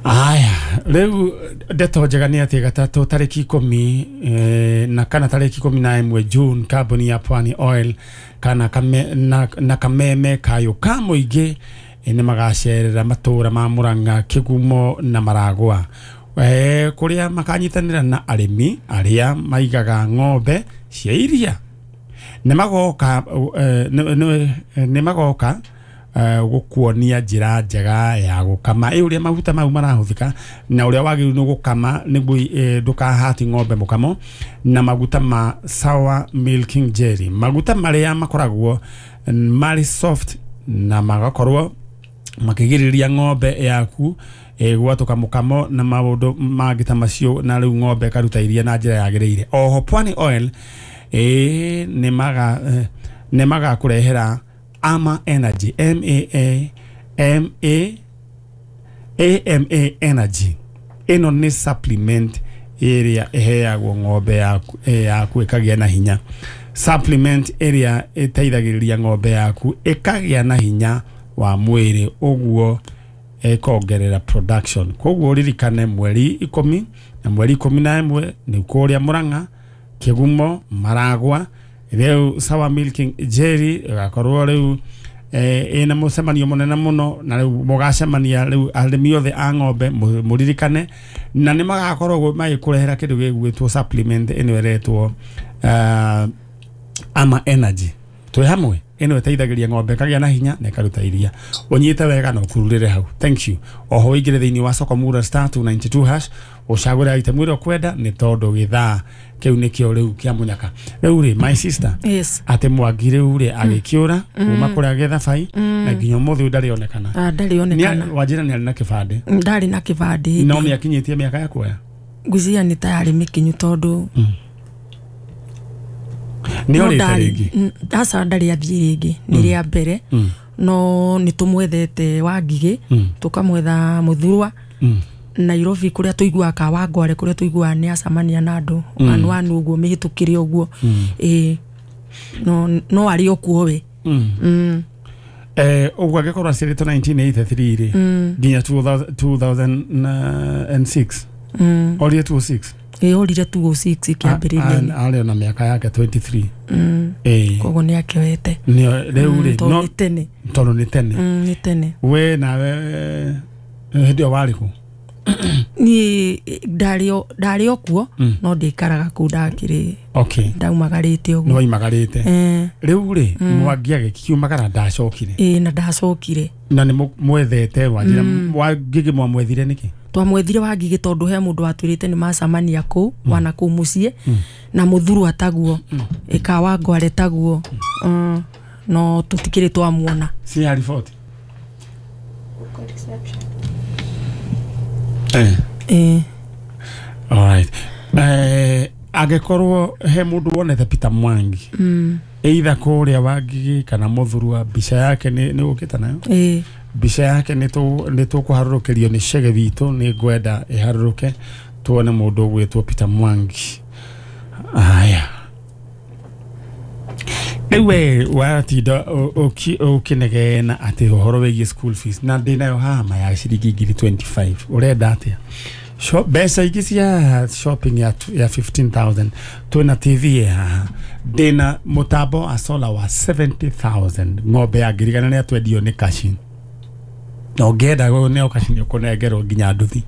Aya, rĩu ndeto njega nĩ atĩ gatatũ tarĩki ikũmi eh, na kana tarĩki ikũmi na ĩmwe June kambuni ya Pwani Oil kana kame, na, na kameme kayo ka mũingĩ eh, nĩ magacerera matũra ma Murang'a, Kĩgumo na Maragwa eh, kũrĩa makanyitanĩra na arĩmi arĩa maigaga ng'ombe cia iria nĩ magoka eh, nĩ magoka gukuonia njĩra njega ya gũkama ĩ ũrĩa maguta mau marahũthĩka na ũrĩa wagĩrĩirwo nĩ gũkama nĩguo ndũkahati ng'ombe mũkamo na maguta ma sour milking jelly maguta marĩa makoragwo marĩ soft na magakorwo makĩgirĩrĩria ng'ombe yaku gwatũka mũkamo na maũndũ mangĩ ta macio na rĩu ng'ombe ĩkaruta iria na njĩra yagĩrĩire. Oho Pwani Oil ĩ nĩ maga nĩ magakũrehera Ama Energy M A A M A A M A Energy ĩno nĩ supplement ĩrĩa ĩheagwo ng'ombe yaku yaku ĩkagĩa na hinya supplement ĩrĩa ĩteithagĩrĩria ng'ombe yaku ĩkagĩa na hinya wa mwĩrĩ ũguo ĩkongerera production. Koguo ririkane mweri ikũmi na mweri ikũmi na ĩmwe nĩ kũrĩa Murang'a, Kĩgumo, Maragwa rĩu sour milking jelly ĩgakorwo rĩu ĩna mũcemanio mũnene mũno na rĩu mũgacemania rĩu arĩmi othe a ng'ombe mũririkane na nĩ magakorwo magĩkũrehera kĩndũ gĩgwĩtwo supplement ĩno ĩretwo Ama Energy twĩ hamwe ĩno ĩteithagĩrĩria ng'ombe ĩkagĩa na hinya na ĩkaruta iria ũnyite wega na ũkururĩre hau. Thank you. Oho ũingĩre thĩinĩ wa soko mura star two ninety two hash ũcagũre item ĩrĩa ũkwenda nĩ tondũ gĩthaa kĩu nĩkĩo rĩu kĩa mũnyaka. Rĩu rĩ my sister yes atĩ Mwangi rĩu rĩ agĩkĩũra kuma kũrĩa Gĩthabai na nginya ũmũthĩ ndarĩ onekana. Ah, ndarĩ onekana. Wanjĩra nĩ arĩ na kĩbandĩ? Ndarĩ na kĩbandĩ. No nĩakinyĩtie mĩaka ya kuoya? Ngwĩciria nĩ ta yarĩ mĩkinyu tondũ nĩ orĩte rĩngĩ? Aca ndarĩ athiĩ rĩngĩ nĩ rĩa mbere no nĩ tũmwethete Wangigĩ tũkamwetha Mũthurwa Nairobi kũrĩa tũiguaga ka Wangware kũrĩa tũiguaga nĩ acemania na andũ anu anu ũguo mĩhĩtũkĩre ũguo ĩĩ no no arĩ o kuo we. Eh ũguo angĩkorwo aciarĩtwo nineteen eighty three rĩ nginya two thousand and six orire two oh six ĩĩ orire two oh six kĩambĩrĩria-inĩ arĩ ona mĩaka yake twenty three ĩĩ koguo nĩ akĩoete rĩu rĩ no tene tondũ nĩ tene nĩ tene. We nawe hĩndĩ ĩyo warĩ kũ? Niĩ ndarĩ ndarĩ o kuo no ndikaraga kũu ndakĩrĩ okay ndaumagarĩte ũguo. Nĩ waimagarĩte. Rĩu rĩ Mwangi agĩkiumagara ndacokire? Ĩĩ na ndacokire. Na nĩ mwethete Wanjĩra Wangigĩ mwamwethire nĩkĩ? Twamwethire Wangigĩ tondũ he mũndũ watwĩrĩte nĩ macemania kũu wana kũu mũciĩ na Mũthurwa taguo ĩka Wangware taguo no tũtikĩrĩ twamuona. Si ya riboti Eh. Eh. All right. Eh angĩkorwo he mũndũ wonete Peter Mwangi mm. either kũrĩa Wangigĩ kana Mũthurwa mbica yake nĩ nĩ ũkĩte nayo? Eh. Mbica yake nĩ nĩ tũkũharũrũkĩrio nĩ Chege witũ nĩ ngwenda ĩharũrũke tuone mũndũ ũgwĩtwo Peter Mwangi. Aya. Rĩu we watinda ũkĩnegena atĩ ũhoro wĩgiĩ school fees na ndĩnayo haha ma ya ciringi ngiri twenty five ũrenda atĩa? Mbeca ingĩ cia shopping ya, ya fifteen thousand twĩna T V haha ndĩna mũtambo wa solar wa seventy thousand ng'ombe ya ngirigana nĩ atwendio nĩ kashi na ũngĩenda nĩo kashi nĩ ũkũnengerwo nginya nduthi.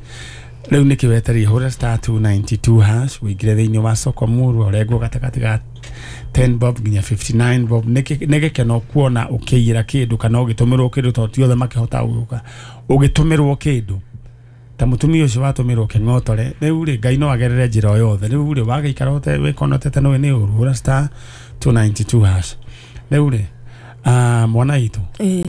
Rĩu nĩkĩ wetereire hũra star two ninety two hash ũingĩre thĩinĩ wa soko murwa ũrengwo gatagatĩ ga ten bob nginya fifty nine bob. Nĩ gĩkeno kuona ũkĩiyĩra kĩndũ kana ũgĩtũmĩrwo kĩndũ tondũ ti othe makĩhota gũka ũgĩtũmĩrwo kĩndũ ta mũtumia ũcio watũmĩrwo kĩng'otore. Rĩu rĩ Ngai no agerere njĩra o yothe. Rĩu rĩ wagĩikara ũte wĩkonotete nĩwe nĩ ũru hũra star two ninety two hash. Rĩu rĩ mwana witũ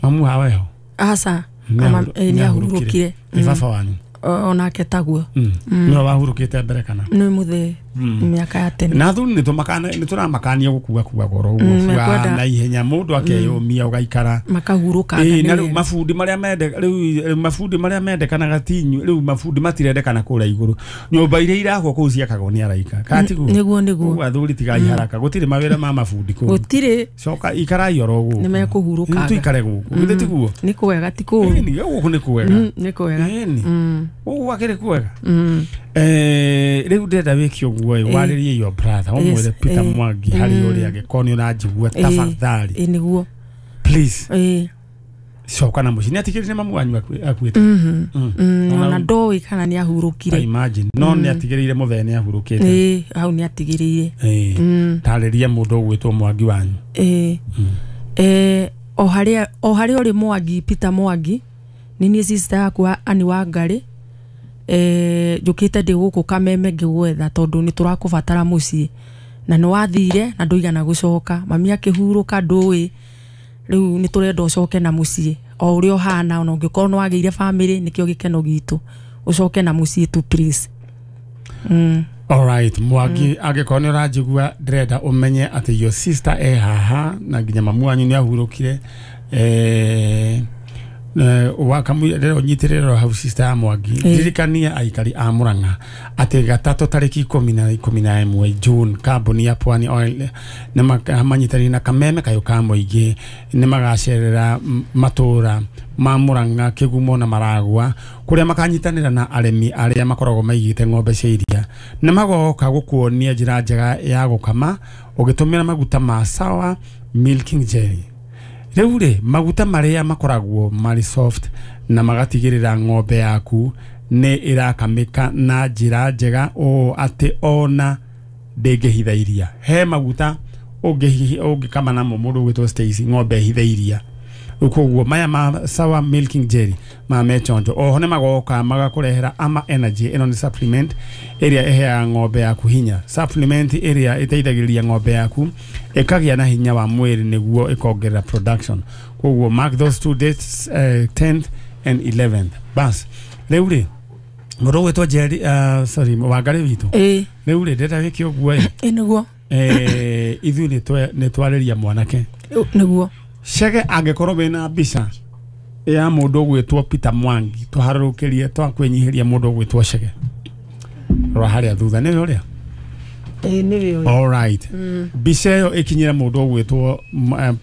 mamu hawe ho? Aca nĩ ahurũkire. Nĩ baba wanyu? Onake taguo. Nĩwe wahurũkĩte mbere kana? Nĩ mũthee Mĩaka ya tene. Na athuri nĩ tũramakania gũkua kua goro ũguo na ihenya mũndũ akeyũmia ũgaikara makahurũka. Na rĩu mabundi marĩa mende rĩu mabundi marĩa mendekanaga ti inyuĩ rĩu mabundi matirendekana kũrĩa igũrũ nyũmba iria irakwo kũu ciakagwo nĩ araika katiguo nĩguo nĩguo athuri tigai haraka gũtirĩ mawĩra ma mabundi kũu gũtirĩ coka ikarai oro gũkũ nĩ mekũhurũkaga tuikare gũkũ githĩ tiguo nĩ kwega ti kũũru gũkũ nĩ kwega nĩ kwega gũkũ gakĩrĩ kwega. Eh rĩu ndĩrenda wĩke ũguo ĩ warĩrie your brother ũmwĩre Peter Mwangi harĩ ũrĩa angĩkorwo nĩ ũranjigua tafadhali ĩ nĩguo please ĩ coka na mũciĩ nĩ atigĩrĩire nĩ mamu wanyu akuĩte ona ndoĩ kana nĩ ahurũkire imagine no nĩ atigĩrĩire mũthee nĩ ahurũkĩte ĩ hau nĩ atigĩrĩire ĩ tarĩria mũndũ ũgwĩtwo Mwangi wanyu ĩ eh o harĩa o harĩa ũrĩ Mwangi Peter Mwangi nĩ niĩ sister yakwa Annie Wangari eh njũkĩte ndĩ gũkũ Kameme ngĩgwetha tondũ nĩ tũrakũbatara mũciĩ na nĩ wathire na ndũigana gũcoka mami akĩhurũka ndũĩ rĩu nĩ tũrenda ũcoke na mũciĩ o ũrĩa ũhana ona ũngĩkorwo nĩ wagĩire family nĩkĩo gĩkeno gitũ ũcoke na mũciĩ tu please. Mm. All right Mwangi angĩkorwo nĩ ũranjigua ndĩrenda ũmenye atĩ your sister e haha na nginya mamu wanyu nĩ ahurũkire eh wakamwĩra ũnyitĩrĩre hau sister ya Mwangi ndirikania aikari a Murang'a atĩ gatatũ tarĩki ikũmi na ikũmi na ĩmwe June kambuni ya Pwani Oil nĩ manyitanĩire na Kameme kayũ ka mũingĩ nĩ magacerera matũra ma Murang'a Kĩgumo na Maragwa kũrĩa makanyitanĩra na arĩmi arĩa makoragwo maigĩte ng'ombe cia iria nĩ magoka gũkuonia njĩra njega ya gũkama ũgĩtũmĩra maguta ma Sawa Milking Jelly. Rĩu rĩ maguta marĩa makoragwo marĩ soft na magatigĩrĩra ng'ombe yaku nĩ ĩrakamĩka na njĩra njega ũũ atĩ ona ndĩngĩhitha iria. He maguta ũngĩkama namo mũndũ ũgwĩtwo Stacy ng'ombe ĩhithe iria koguo maya ma Sawa Milking Jelly ma mechonjo oho nĩ magoka magakũrehera Ama Energy ĩno nĩ supplement ĩrĩa ĩheaga ng'ombe yaku hinya supplement ĩrĩa ĩteithagĩrĩria ng'ombe yaku ĩkagĩa na hinya wa mwĩrĩ nĩguo ĩkongerera production koguo mark those two dates uh, tenth and eleventh bas rĩu rĩ mũndũ ũgwĩtwo Jerry uh, sorry Wangari witũ rĩu rĩ ndĩrenda wĩke ũguo ĩ nĩguo eh ithuĩ nĩ twarĩria mwanake nĩguo Chege angĩkorwo wĩna mbica ya mũndũ ũgwĩtwo Peter Mwangi tũharũrũkĩrie twakwĩnyihĩria mũndũ ũgwĩtwo Chege rora harĩa thutha nĩwe ũrĩa ĩ nĩwe ũrĩa all right mbica ĩyo ĩkinyĩre mũndũ ũgwĩtwo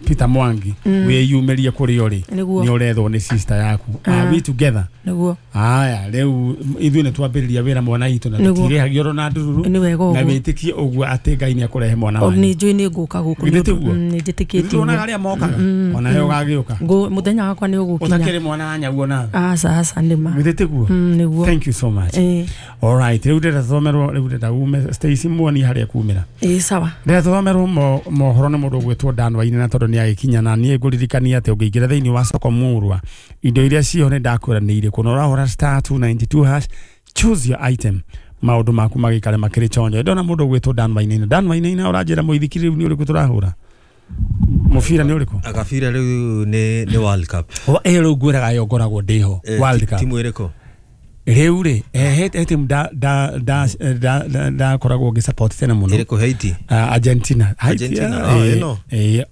Peter Mwangi wĩyumĩrie kũrĩa ũrĩ nĩ ũrethwo nĩ sister yaku are we together nĩguo aya rĩu ithuĩ nĩ twambĩrĩria wĩra mwana witũ na tũtirĩhagio oro na ndururu na wĩtĩkie ũguo atĩ Ngai nĩ akũrehe mwana wanyu nĩ njũĩ nĩ ngũka gũkũ nĩ njĩtĩkĩtie tuonaga arĩa mokaga ona we ũgagĩũka mũthenya wakwa nĩ ũgũkinya ũtakĩrĩ mwana wa nyaguo nawe aca aca nĩ ma githĩ tiguo nĩguo thank you so much all right rĩu ndĩrenda tũthomerwo rĩu ndĩrenda ume Stacy muoni harĩa kumĩra ĩ sawa ndĩrenda tũthomerwo mohoro nĩ mũndũ ũgwĩtwo Dan Wainaina tondũ nĩ agĩkinya na niĩ ngũririkania atĩ ũngĩingĩra thĩinĩ wa soko Mũrwa indo iria ciho nĩ ndakwĩra nĩ irĩkũ na ũrahũra star two ninety two hash choose your item maũndũ maku magĩikare makĩrĩ chonjo ndona mũndũ ũgwĩtwo Dan Wainaina Dan Wainaina ũranjĩra mũithikiri rĩu nĩ ũrĩkũ tũrahũra mũbira nĩ ũrĩkũ agabira rĩu nĩ nĩ World Cup ĩ rĩu ngwĩraga yo ngoragwo ndĩho World Cup timu ĩrĩkũ rĩu rĩ he timu nda nda nda ndakoragwo ngĩ support tene mũno ĩrĩkũ Haiti Argentina Argentina ĩno ĩ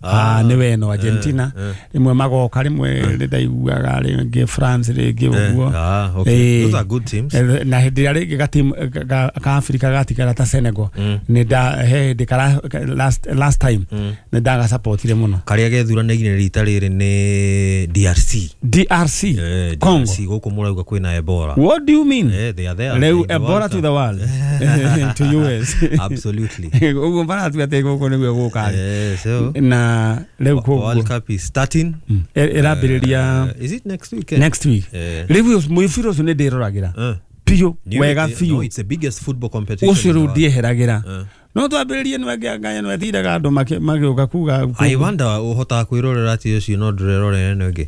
nĩ we ĩno Argentina rĩmwe magoka rĩmwe ndaiguaga rĩngĩ France rĩngĩ ũguo those are good teams na hĩndĩ ĩrĩa rĩngĩ gatimu ka Africa gatigara ta Senegal nĩ nda he hĩndĩ kara last last time nĩ ndagasupportire mũno karĩa gethuranĩire rita rĩrĩ nĩ D R C D R C Congo gũkũ mũrauga kwĩna Ebola what do you mean? Yeah, they are there. Leo Ebola to the world. To U S. Absolutely. Ugo mbara tu ate goko niguo guka. Yeah, so na leo ko World Cup is starting. Erabiriria uh, is it next week? Next week. Leo muifiro so ne nderoragira. Piyo wega fiyo. No, it's the biggest football competition. Ucio riu ndieheragĩra. No twambĩrĩrie nĩwangĩanganya nĩwethindaga andũ magĩũka kuga I wonder ũhotaga kwĩrorera atĩ ũcio no ndũrerorera ĩno ĩngĩ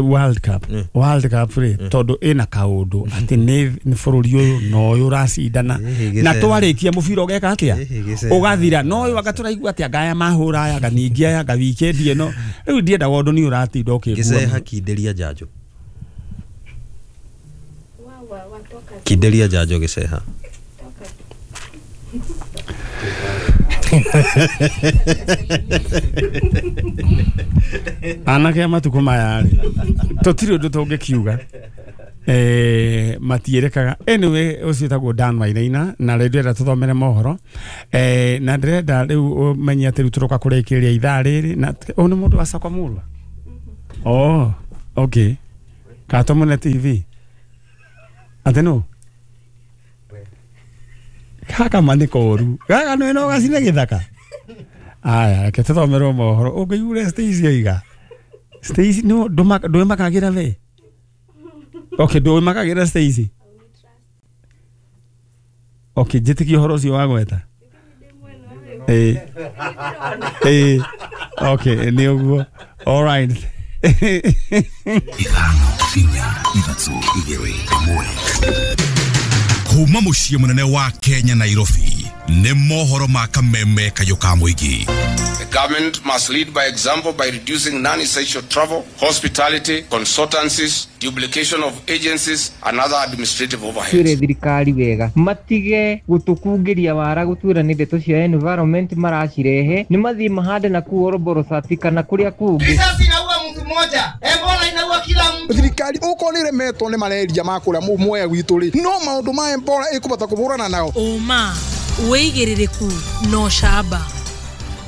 World Cup World Cup rĩ tondũ ĩna kaũndũ atĩ nĩ bũrũri ũyũ na ũyũ ũracindana na twarĩkia mũbira ũgeka atĩa ũgathira no ũyũ anga tũraigua atĩa ngaya mahũra aya ningĩ aya nga weekend ĩno rĩu ndiendaga ũndũ nĩ ũratinda ũkĩngua Gĩceha kindĩria njanjo kindĩria njanjo Gĩceha Anake a matukũ maya rĩ tũtirĩ ũndũ tũngĩkiuga eh matierekaga. Anyway, ũcio wĩtagwo Dan Wainaina na rĩu ndĩrenda tũthomere mohoro eh na ndĩrenda rĩu ũmenye atĩ rĩu tũroka kũrĩkĩrĩria ithaa rĩrĩ na ũyũ nĩ mũndũ wa Sakwa Mũrwa. Oh, okay. Katomone T V atĩ nũ gaka ma nĩ koru gaka nĩ no gacine gĩthaka. Aya, reke tũthomerwo mohoro ũngĩigure Stacy oiga Stacy no ndũĩmakagĩra we. Okay, ndũĩmakagĩra Stacy. Okay, njĩtĩkie ũhoro ũcio wa gweta. Eh. Eh. Okay, nĩ ũguo. All right. Ithano, inya, ithatũ, igĩrĩ, ĩmwe. Kuma mũciĩ mũnene wa Kenya Nairobi nĩ mohoro ma kameme kayũ ka mũingĩ. The government must lead by example by reducing non-essential travel, hospitality, consultancies, duplication of agencies and other administrative overheads. Twire thirikari wega matige gutukungiria wara gutwira ni ndeto cia environment maracirehe ni mathie mahande na ku Oroborosati kana kuria kungi. Risasi inaua mtu mmoja, Ebola inaua kila mtu. Thirikari uko ni remetwo ni mareria ma kuria muoya gwitu ri no maundu ma Ebola ikubata kuburana nao. Uma wigiririku no shaba.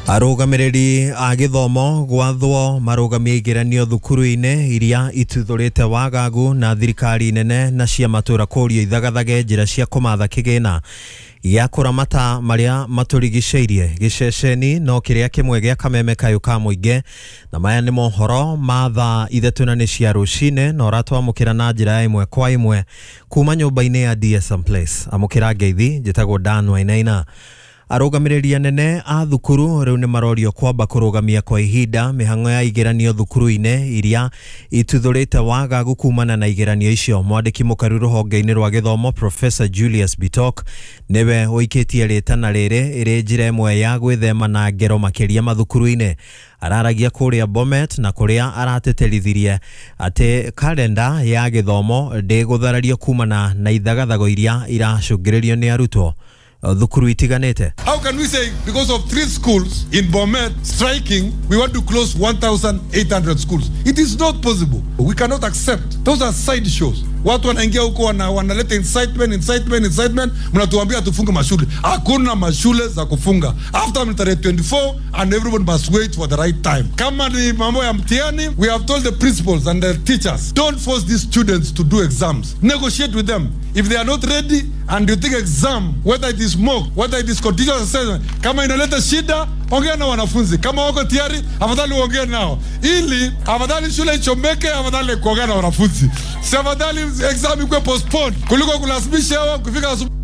Arũgamĩrĩri a gĩthomo gwathwo marũgamie igeranio thukuru-inĩ iria ituthũrĩte wagagu na thirikari nene na cia matũra kũrio ithagathage njĩra cia kũmatha kĩgĩna gĩa kũramata marĩa matũrigicĩirie. Gĩceceni no kĩrĩa kĩmwe gĩa kameme kayũ ka mũingĩ na maya nĩ mohoro ma thaa ithatũ na nĩ cia rũcinĩ na ũratwamũkĩra na njĩra ya ĩmwe kwa ĩmwe kuma nyũmba-inĩ ya D S M Place. Amũkĩra ngeithi, njĩtagwo Dan Wainaina. Arũgamĩrĩri anene a thukuru rĩu nĩ marorio kwamba kũrũgamia kwa ihinda mĩhang'o ya igeranio thukuru-inĩ iria ituthũrĩte wagagu kumana na igeranio icio. Mwandĩki mũkaru rũhonge-inĩ rwa gĩthomo Professor Julius Bitok nĩwe ũikĩtie rĩtana rĩrĩ ĩrĩ njĩra ĩmwe ya gwĩthema na ngero makĩria mathukuru-inĩ. Araragia kũrĩa Bomet na kũrĩa arateterithirie atĩ kalenda ya gĩthomo ndĩgũtharario kumana na ithagathago iria iracũngĩrĩrio nĩ arutwo thukuru itiganĩte. How can we say because of three schools in Bomet striking we want to close one thousand eight hundred schools? It is not possible. We cannot accept. Those are side shows. Watu wanaingia huko wana wanaleta incitement, incitement, incitement, mnatuambia tufunge mashule. Hakuna mashule za kufunga. After tarehe twenty-four and everyone must wait for the right time. Kama ni mambo ya mtihani, we have told the principals and the teachers, don't force these students to do exams. Negotiate with them. If they are not ready and you think exam, whether it is mock, whether it is continuous assessment, kama inaleta shida, ongea na wanafunzi. Kama wako tayari, afadhali uongee nao. Ili afadhali shule ichomeke, afadhali kuongea na wanafunzi. Si afadhali exam ikuwe postponed kuliko kulazimisha wao kufika asubuhi.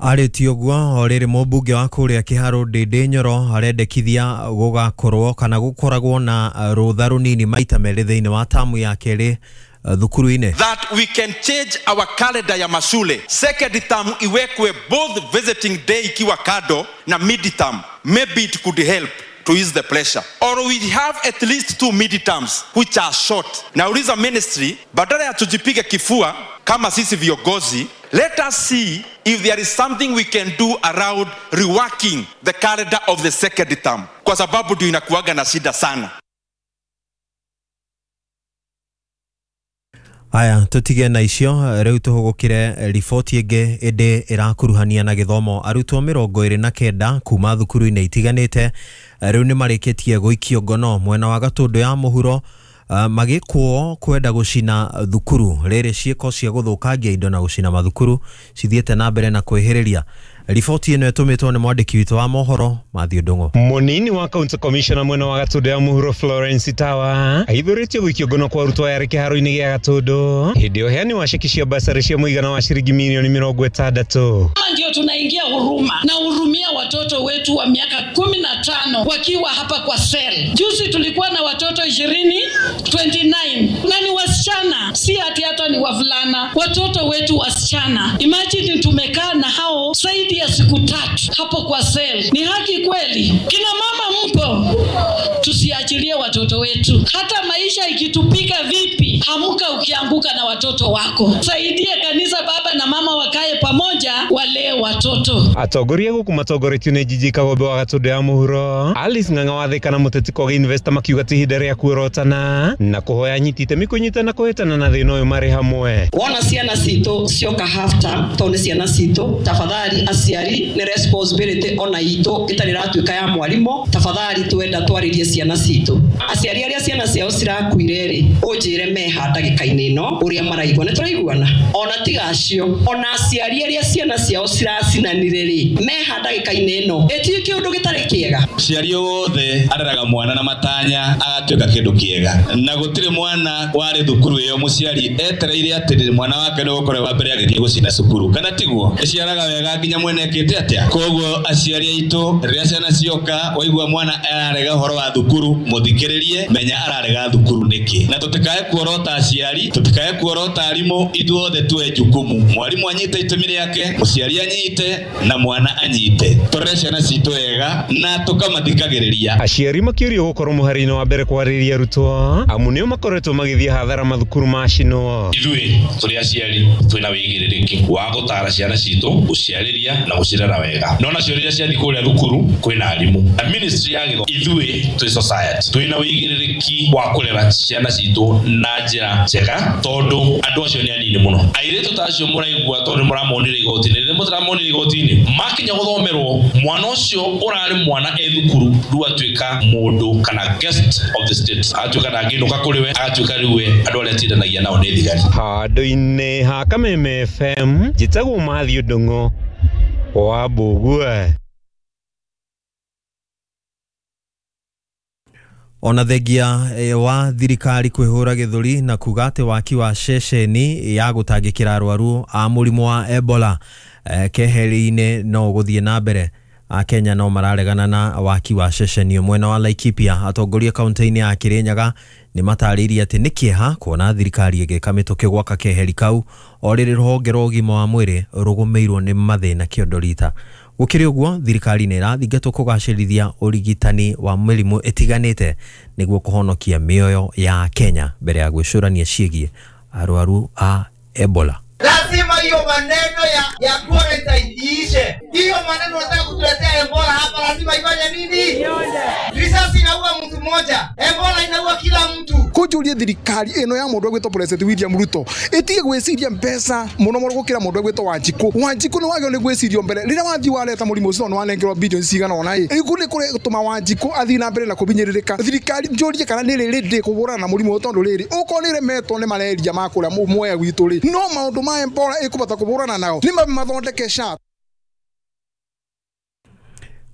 Arĩtie ũguo o rĩrĩ mũmbunge wa kũrĩa Kĩharũ Ndĩndĩ Nyoro arendekithia gũgakorwo kana gũkoragwo na rũtha rũnini maita merĩ thĩinĩ wa tamu ya kerĩ thukuru-inĩ. That we can change our calendar ya mashule. Second term iwekwe both visiting day ikiwa kado na mid term. Maybe it could help to ease the pressure. Or we have at least two mid-terms which are short. Nauliza ministry, badala ya tujipige kifua kama sisi viongozi, let us see if there is something we can do around reworking the calendar of the second term. Kwa sababu ndio inakuwaga na shida sana. Aya, tutige na icio rĩu tũhũgũkĩre riboti ĩngĩ ĩndĩ ĩrakuruhania na gĩthomo. Arutwo mĩrongo ĩrĩ na kenda kuma thukuru-inĩ itiganĩte rĩu nĩ marĩkĩtie gũikio ngono mwena wa Gatũndũ ya mũhuro uh, magĩkwo kwenda gũcina thukuru. Rĩrĩ ciĩko cia gũthũkangia indo na gũcina mathukuru cithiĩte na mbere na kwĩhĩrĩria. Riboti ĩno ĩtũmĩtwo nĩ mwandĩki witũ wa mohoro Matthew Ndung'u. Munini wa county commissioner mwena wa Gatũndũ ya mũhuro Florence Tawa aithũrĩtio gũikio ngono kwa arutwo aya kĩharo-inĩ gĩa Gatũndũ hĩndĩ ũheani wa ceki cia basarĩ cia mũigana wa ciringi milioni mĩrongo ĩtandatũ. Ndio tunaingia huruma na hurumia watoto wetu wa miaka kumi na tano wakiwa hapa kwa sel. Juzi tulikuwa na watoto ishirini, twenty-nine na ni wasichana, si ati hata ni wavulana, watoto wetu wasichana. Imagine tumekaa na hao zaidi ya siku tatu hapo kwa sel. Ni haki kweli? Kina mama mpo, tusiachilie watoto wetu. Hata maisha ikitupika vipi, hamuka ukianguka na watoto wako. Saidie kanisa baba na mama wakae pamoja walee watoto. Atongoria guku matongoretio nĩ Njiji Kagombe wa Gatũndũ ya Mũhuro, Alice Ng'ang'a wa Thika na Mũteti Kogi Investor makiuga ti ihinda rĩa kuorotana na kũhoya anyiti itemi kũnyitana kũhĩtana na thĩna ũyũ marĩ hamwe. Wona ciana citũ cioka half term tondũ nĩ ciana citũ, tafadhali aciari nĩ responsibility ona itũ ĩtarĩ ĩratuĩka ya mwarimũ, tafadhali twenda twarĩrie ciana citũ. Aciari arĩa ciana ciao cirakuire rĩ, ũnjĩre meha ndagĩka-inĩ ĩno ũrĩa maraigua, nĩ tũraiguana? Ona tiga acio, ona aciari arĩa ciana ciao ciracinanire rĩ, meha ndagĩka-inĩ ĩno ĩtirĩ kĩũndũ gĩtarĩ kĩega. Mũciari wothe areraga mwana na matanya agatuĩka kĩndũ kĩega, na gũtirĩ mwana warĩ thukuru ĩyo mũciari etereire atĩ mwana wake nĩ gũkorwo wa mbere agĩthiĩ gũcina cukuru, kana tiguo? Ĩciaraga wega nginya mwene ekĩte atĩa. Koguo aciari aitũ rĩrĩa ciana cioka waigua mwana ararega ũhoro wa thukuru, mũthikĩrĩrie, menya ararega thukuru nĩkĩ, na tũtikae kuorota aciari, tũtikae kuorota arimũ, ithuothe tuoe jukumu. Mwarimu anyite itemi rĩake, mũciari anyite na mwana anyite, tũrere ciana citũ wega na tũkamathikagĩrĩria. Aciari makĩũrio gũkorwo mũhari-inĩ wa mbere kwarĩria arutwo amu nĩo makoretwo magĩthiĩ hathara mathukuru macinwo. Ithuĩ tũrĩ aciari twĩna wĩigĩrĩrĩki wa gũtara ciana citũ, gũciarĩria na gũcirera wega, no nacio rĩrĩa ciathiĩ kũrĩa thukuru kwĩna arimũ na ministry ya gĩthomo. Ithuĩ twĩ society twĩna wĩigĩrĩrĩki wa kũrera ciana citũ na njĩra njega, tondũ andũ acio nĩ anini mũno. Airĩtu ta acio mũraigua tondũ nĩmũramonire igoti-inĩ, rĩrĩa mũtiramonire igoti-inĩ makinya gũthomerwo, mwana ũcio ũrarĩ mwana e thukuru rĩu atuĩka mũndũ kana guest of the state, atuĩka ndangĩinũka kũrĩ we, agatuĩka rĩu we andũ arĩa atindanagia nao nĩ thigari. Handũ-inĩ ha Kameme F M, njĩtagwo Matthew Ndung'u wa Mbũgue. Ona thengia wa thirikari kwihura githuri na kuga ati waki wa ceceni ya gutangikira arwaru a murimu wa Ebola eh, keheri-inĩ no guthie na mbere. Akenya no mararegana na waki wa ceceni mwena wa Laikipia. Atongoria kaunti-inĩ ya Kirinyaga nĩ matarĩirie atĩ nĩ kĩeha kuona thirikari ĩgĩka mĩtũkĩ gwaka keheri kau o rĩrĩ rũhonge rwa ũgima wa mwĩrĩ rũgũmĩirwo nĩ mathĩna kĩondo rita. Gũkĩrĩ ũguo thirikari nĩ ĩrathingatwo kũgacĩrithia ũrigitani wa mĩrimũ ĩtiganĩte nĩguo kũhonokia mĩoyo ya Kenya mbere ya gwĩcũrania ciĩgiĩ arwaru a Ebola. Lazima hiyo maneno ya ya quarantine iishe. Hiyo maneno unataka kutuletea Ebola hapa, lazima ifanye nini? Risasi inaua mtu mmoja, Ebola inaua kila mtu. Kujuria thirikari ino ya mundu egwitwo President William Ruto itige gwiciria mbeca muno muno gukira mundu egwitwo Wanjiku. Wanjiku ni wagio ni gwicirio mbere riria wathi wareta murimu ucio no wanengerwo bilioni cigana ona i iku ni kuri gutuma Wanjiku athii na mbere na kubinyĩrĩrĩka. Thirikari njurie kana ni rĩrĩ ndĩ kũhũrana na mũrimũ tondu rĩrĩ ukorwo nĩ remetwo nĩ malaria ma kũrĩa Mwea gwitũ rĩ, no maũndũ ma Ebola ĩkũbata kũhũrana nao nĩ mathondeke SHA.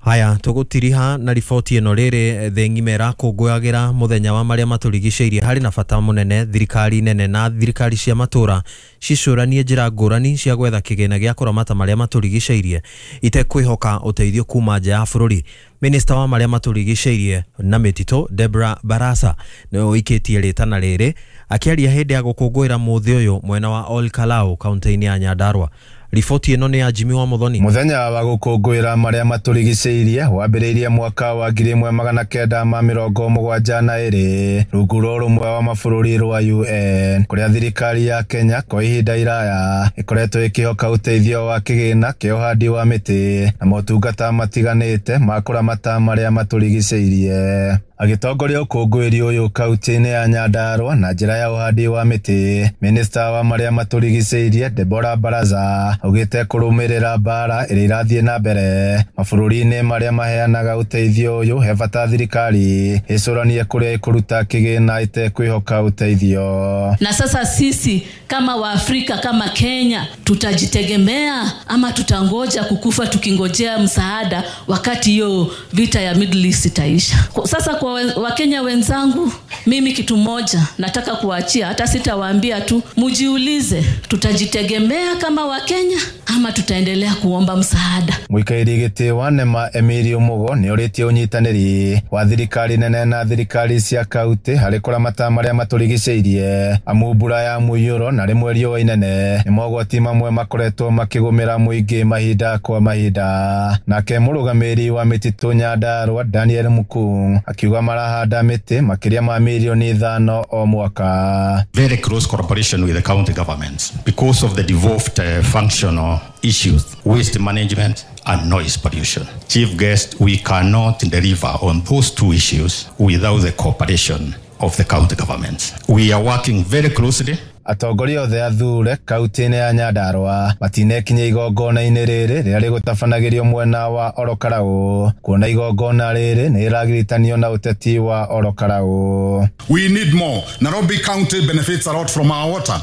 Haya, tũgũtiriha na riboti ĩno rĩrĩ thĩ ng'ima ĩrakũngũyagĩra mũthenya wa marĩa matũrigicĩirie. Harĩ na bata mũnene thirikari nene na thirikari cia matũra cicũranie njĩra ngũrani cia gwetha kĩgĩna gĩa kũramata marĩa matũrigicĩirie itekwĩhoka ũteithio kuma nja ya bũrũri. Minista wa marĩa matũrigicĩirie na mĩtitũ Deborah Barasa nĩwe ũikĩtie rĩtana rĩrĩ akĩaria hĩndĩ ya gũkũngũĩra mũthĩ ũyũ mwena wa Ol Kalou kaunti-inĩ ya Nyandarua. Riboti ĩno nĩ ya Jimmy wa Muthoni. Mũthenya wa gũkũngũĩra marĩa matũrigicĩirie wambĩrĩirie mwaka wa ngiri ĩmwe magana kenda ma mĩrongo mũgwanja na ĩrĩ rungu rwa ũrũmwe wa mabũrũri rwa U N, kũrĩa thirikari ya Kenya kwa ihinda iraya ĩkoretwo ĩkĩhoka ũteithio wa kĩgĩna kĩa ũhandi wa mĩtĩ na motungata matiganĩte ma kũramata marĩa matũrigicĩirie. Agĩtongoria ũkũngũĩri ũyũ kaunti-inĩ ya Nyandarua na njĩra ya ũhandi wa mĩtĩ, minista wa marĩa matũrigicĩirie Deborah Baraza augĩte kũrũmĩrĩra mbara ĩrĩa ĩrathiĩ na mbere mabũrũri-inĩ marĩa maheanaga ũteithio ũyũ he bata thirikari ĩcũranie kũrĩa ĩkũruta kĩgĩna ĩtekwĩhoka ũteithio. Na sasa sisi kama Waafrika kama Kenya tutajitegemea ama tutangoja kukufa tukingojea msaada wakati hiyo vita ya Middle East itaisha? Sasa kwa Wakenya wenzangu, mimi kitu moja nataka kuachia, hata sitawaambia tu, mujiulize, tutajitegemea kama Wakenya ama tutaendelea kuomba msaada? Mũikairi gĩtĩ wa Nema Emilio Mugo nĩ orĩtie ũnyitanĩri wa thirikari nene na thirikari cia kaunti harĩ kũramata marĩa matũrigicĩirie, amu mbura ya mũiyũro na rĩmwe riũa inene nĩ mogwati mamwe makoretwo makĩgũmĩra mũingĩ mahinda kwa mahinda. Nake mũrũgamĩrĩri wa mĩtitũ Nyandarua Daniel Mukung akiuga marahanda mĩtĩ makĩria ma mirioni ithano o mwaka. Very close cooperation with the county governments because of the devolved uh, functional issues, waste management and noise pollution. Chief guest, we cannot deliver on those two issues without the cooperation of the county governments. We are working very closely. Atongoria othe athure kaunti-inĩ ya Nyandarua matinekinyia igongona-inĩ rĩrĩ rĩrĩa rĩgũtabanagĩrio mwena wa Orokarau, kuona igongona rĩrĩ nĩ rĩragiritanio na ũteti wa Orokarau. We need more. Nairobi County benefits a lot from our water.